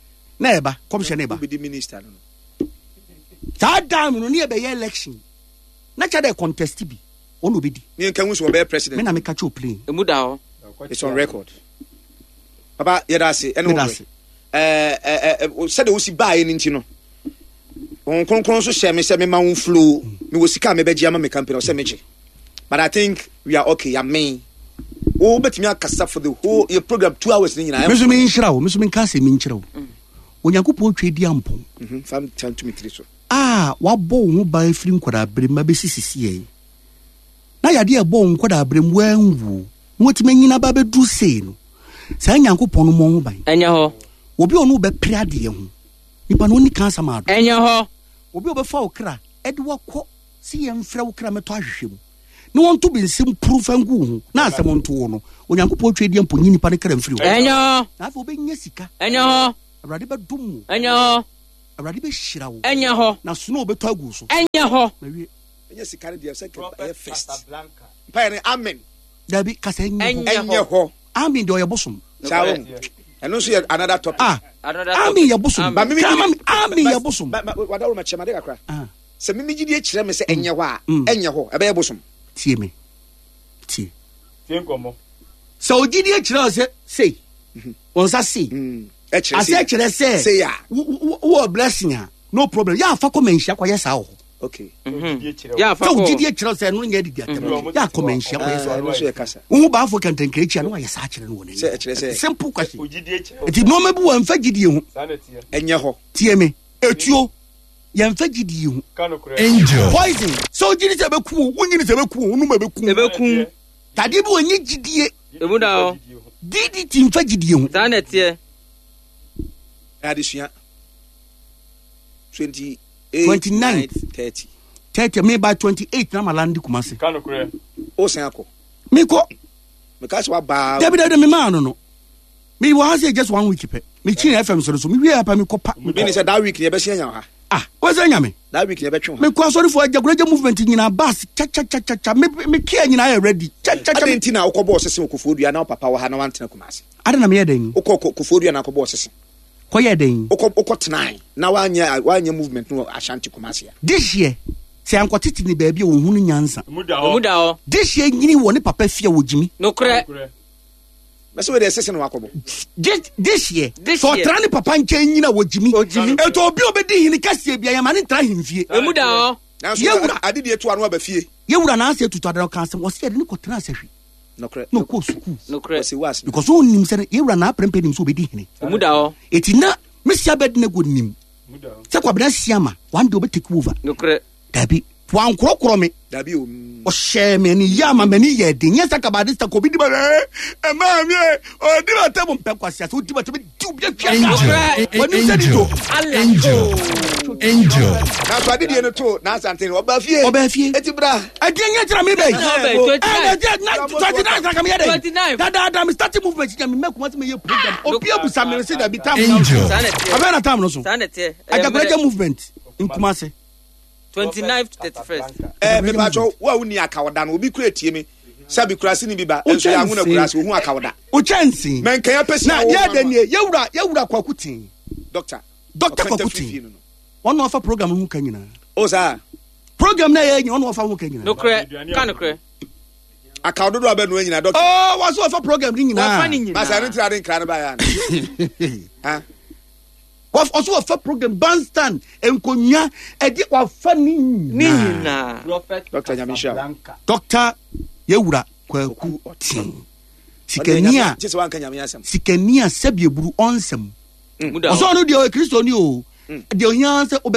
Na ɛba kɔmhyɛ na ɛba. Wobɛdi minister no. Saa time no ne yɛbɛyɛ election. Na chada contest bi. Ɔno obɛdi. Ne nka hu sɛ ɔbɛyɛ president. Me na meka kyɛ plane. Emu da hɔ. It's on record. Papa yɛda ase ɛne wo sɛdeɛ wosi baeɛ no nti no wɔn kronkron nso hyɛ me sɛ mema wo flow mewɔ sika a mebɛgye ama me company ɔsɛ megye but I think we are okay amen wo bɛtumi akasa for the whole your program 2 hours ne nyinaa me so menhyira wo me so menka asɛm menkyerɛ wo Onyankopɔn twa di ampɔn fa ntumi tiri so a wabɔ wo ho ban firi nkwadaa berɛ mu abɛsi sisi yɛn na yadeɛ a ɛbɔ wo nkwadaa berɛ mu wanwuo na watumi anyina ba bɛduru sei no saa Nyankopɔn no mmɔ ho ban. Ɛnyɛ hɔ. Obi a ɔne wo bɛpere adeɛ ho nipa no ɔnni kansa ma ado. Ɛnyɛ hɔ. Obi a ɔbɛfa wo kra de wakɔ sɛ yɛmfrɛ wo kra mɛtɔ ahwehwɛ mu na wɔnto bensɛm puru mfa ngu wo ho na asɛm nto wo no Onyankopɔn twa adi mpo nyi nipa no kra mfiri hɔ. Ɛnyɛ hɔ. Na afei wobɛnya sika. Ɛnyɛ hɔ. Awurade bɛdom wo. Ɛnyɛ hɔ. Awurade bɛhyira wo. Ɛnyɛ hɔ. Na snow bɛtɔ agu wo so. Ɛnyɛ hɔ. Mawie. Ɛnyɛ sika no deɛ sɛ ɛyɛ first. Mpaeɛ no amen. Dabi kasa ɛnyɛ hɔ. Ɛnyɛ hɔ. Amen deɛ ɔyɛ bosom. Saa o. Ɛno nso yɛ another topic. Ah. Amen yɛ bosom. Amen yɛ bosom. Wadaworo ma kyerɛ ma de kakra. Sɛ mimi gyidie kyerɛ me sɛ ɛnyɛ hɔ a ɛnyɛ hɔ ɛbɛyɛ bosom. Tie me. Tie. Tie nkɔmmɔ. Sɛ ogyidie kyerɛ sɛ sei wɔn nsa sei. Asɛ kyerɛ sɛ wowɔ blessing a no problem. Yɛ afa kɔ manhyia kɔyɛ saa wɔ hɔ. Okay. Sɛ wo gyidie kyerɛ sɛ ɛno nyɛ adidi atɛm yɛ akɔ manhyia kɔyɛ saa wohu baafo kɛntɛnkra akyi a na wayɛ saa kyerɛ no wɔ n'anim simple question nti nneɛma bi wɔ mfa gyidie ho ɛnyɛ hɔ tie me etuo yɛmfa gyidie ho Angel poison sɛ wogyidi sɛ ɛbɛku wo wonyini sɛ ɛbɛku wo wonum ɛbɛku ɛbɛku tadeɛ bi wɔ nyɛ gyidie emu da hɔ DDT mfa gyidie ho saa na ɛteɛ adesua 20 29 30 30 me by 28 na malandi Kumasi. Ka nokorɛ. O san akɔ. Me kɔ. Me ka sɛ wabaa. Dabi dabi me maa no no. Me wɔ ha sɛ just one week pɛ. Me kyi FM so no so me wie apa me kɔ pa. Me ni sɛ that week ni ɛbɛsi anya ha. Ah, wọ́n sɛ nyame. That week ni ɛbɛtwe ha. Me kɔ asɔrifo agyagoragya movement nyinaa bus cha cha cha cha cha me me kia nyinaa yɛ ready. Cha cha cha. Adi nti na wokɔ bɔɔ sese wɔ Koforidua na wo papa wɔ ha na wantena Kumasi. Adi na meyɛ dɛn? Wokɔ Koforidua na akɔ bɔɔ sese. Kɔyɛɛ dɛn? Wokɔ wokɔ tenae na wanyɛ wanyɛ movement no wɔ Ashanti Kumasi a. This year sɛ yankɔtete ne baabi a wɔhunu nyansa. Emu da Emu hɔ. da hɔ. This year nyini wɔ ne papa fie a wɔgyimi. Nokorɛ. Nokorɛ. Mɛsɛ wei deɛ sese na wakɔbɔ. This this year This sɛ year. ɔtra ne papa nkyɛn nyini a wɔgyimi. Ɔgyimi. Ɛtɔ obi a ɔbɛdi hene kɛseɛ bia yɛma ne ntra ahemfie. Emu da hɔ. Nanso Yɛwura. adedie to ano aba fie. Yɛwura n'ase atutu adana ɔka asɛm ɔsɛ yɛde ne kɔtena asahwi Nokorɛ. na ɔkɔɔ sukuu. Nokorɛ. Wɔsi wo ase. Because ɔnnim sɛ yɛwura n'aprɛmpɛ nim sɛ ɔbɛdi hene. Emu da hɔ. Eti na Mesi Abednego nim Emu da hɔ. sɛ Kwabena Asiama one day ɔbɛ take over. Nokorɛ. Dabi wankorɔkorɔ me. Dabi o. Ɔhyɛɛ me ani yɛ ama m'ani yɛ den. Nyɛ sɛ kabade sɛ kɔbi di ma ɛɛ ɛmaa mi ɛ ɔdi ma tɛ mo mpɛ kwasi ase odi ma tɛ mi di obi atwa Angel Wɔnim sɛ ni to. Angel Angel Nanso adedie no to n'asante no ɔba fie. Ɔbaa fie. Eti bra. Ɛdeɛ nyɛ kyerɛ mi bɛyi. Ɔbaa yi, 29. Ɛdeɛ na 29 na kame yɛ dɛ. 29. Dadaada mi starting movement nya mi mɛ kuma se mi yɛ program. Obi abusa mi se dabi tam na Angel. Saa na ɛteɛ. Abɛn na tam no so. Saa na ɛteɛ. Ɛyɛ Ajagbaraja mmerɛ. movement nkumase. 29 to 31st. Ɛɛ mepatwɔ wo a wonni akawda no obi kura tie mi sɛbi kurase ni bi ba nso yɛ ahuna kurase ohun akawda. O kyɛnse. Mɛnkɛn apɛsi Na yɛ dɛ nie yɛwura yɛwura kwaku ten. Doctor. Doctor kwaku ten. Wɔn na ɔfa program ho ka nyinaa. O saa. Program na yɛ nyɛ wɔn na ɔfa ho ka nyinaa. Nokorɛ. Ka nokorɛ. Akaw dodo abɛnoa nyinaa dɔkta. Oh, wɔso wɔfa program ne nyinaa. Wɔfa ne nyinaa. Masa ɛno ntira de nkra no baeɛ ana? Ɔso wɔfa program bandstand nkonnwa ɛde wɔfa ne Ne nyinaa. nyinaa. Dɔkta Nyame nhyira wo. Dɔkta Yɛwura Kwaku Ɔten. Sikani a Kyɛ sɛ wanka Nyame asɛm. sikani a sɛbi eburu ɔnsɛm. Mu da hɔ. Ɔsɛ ɔno deɛ ɔyɛ Kristoni o. Deɛ ohia sɛ ɔbɛ.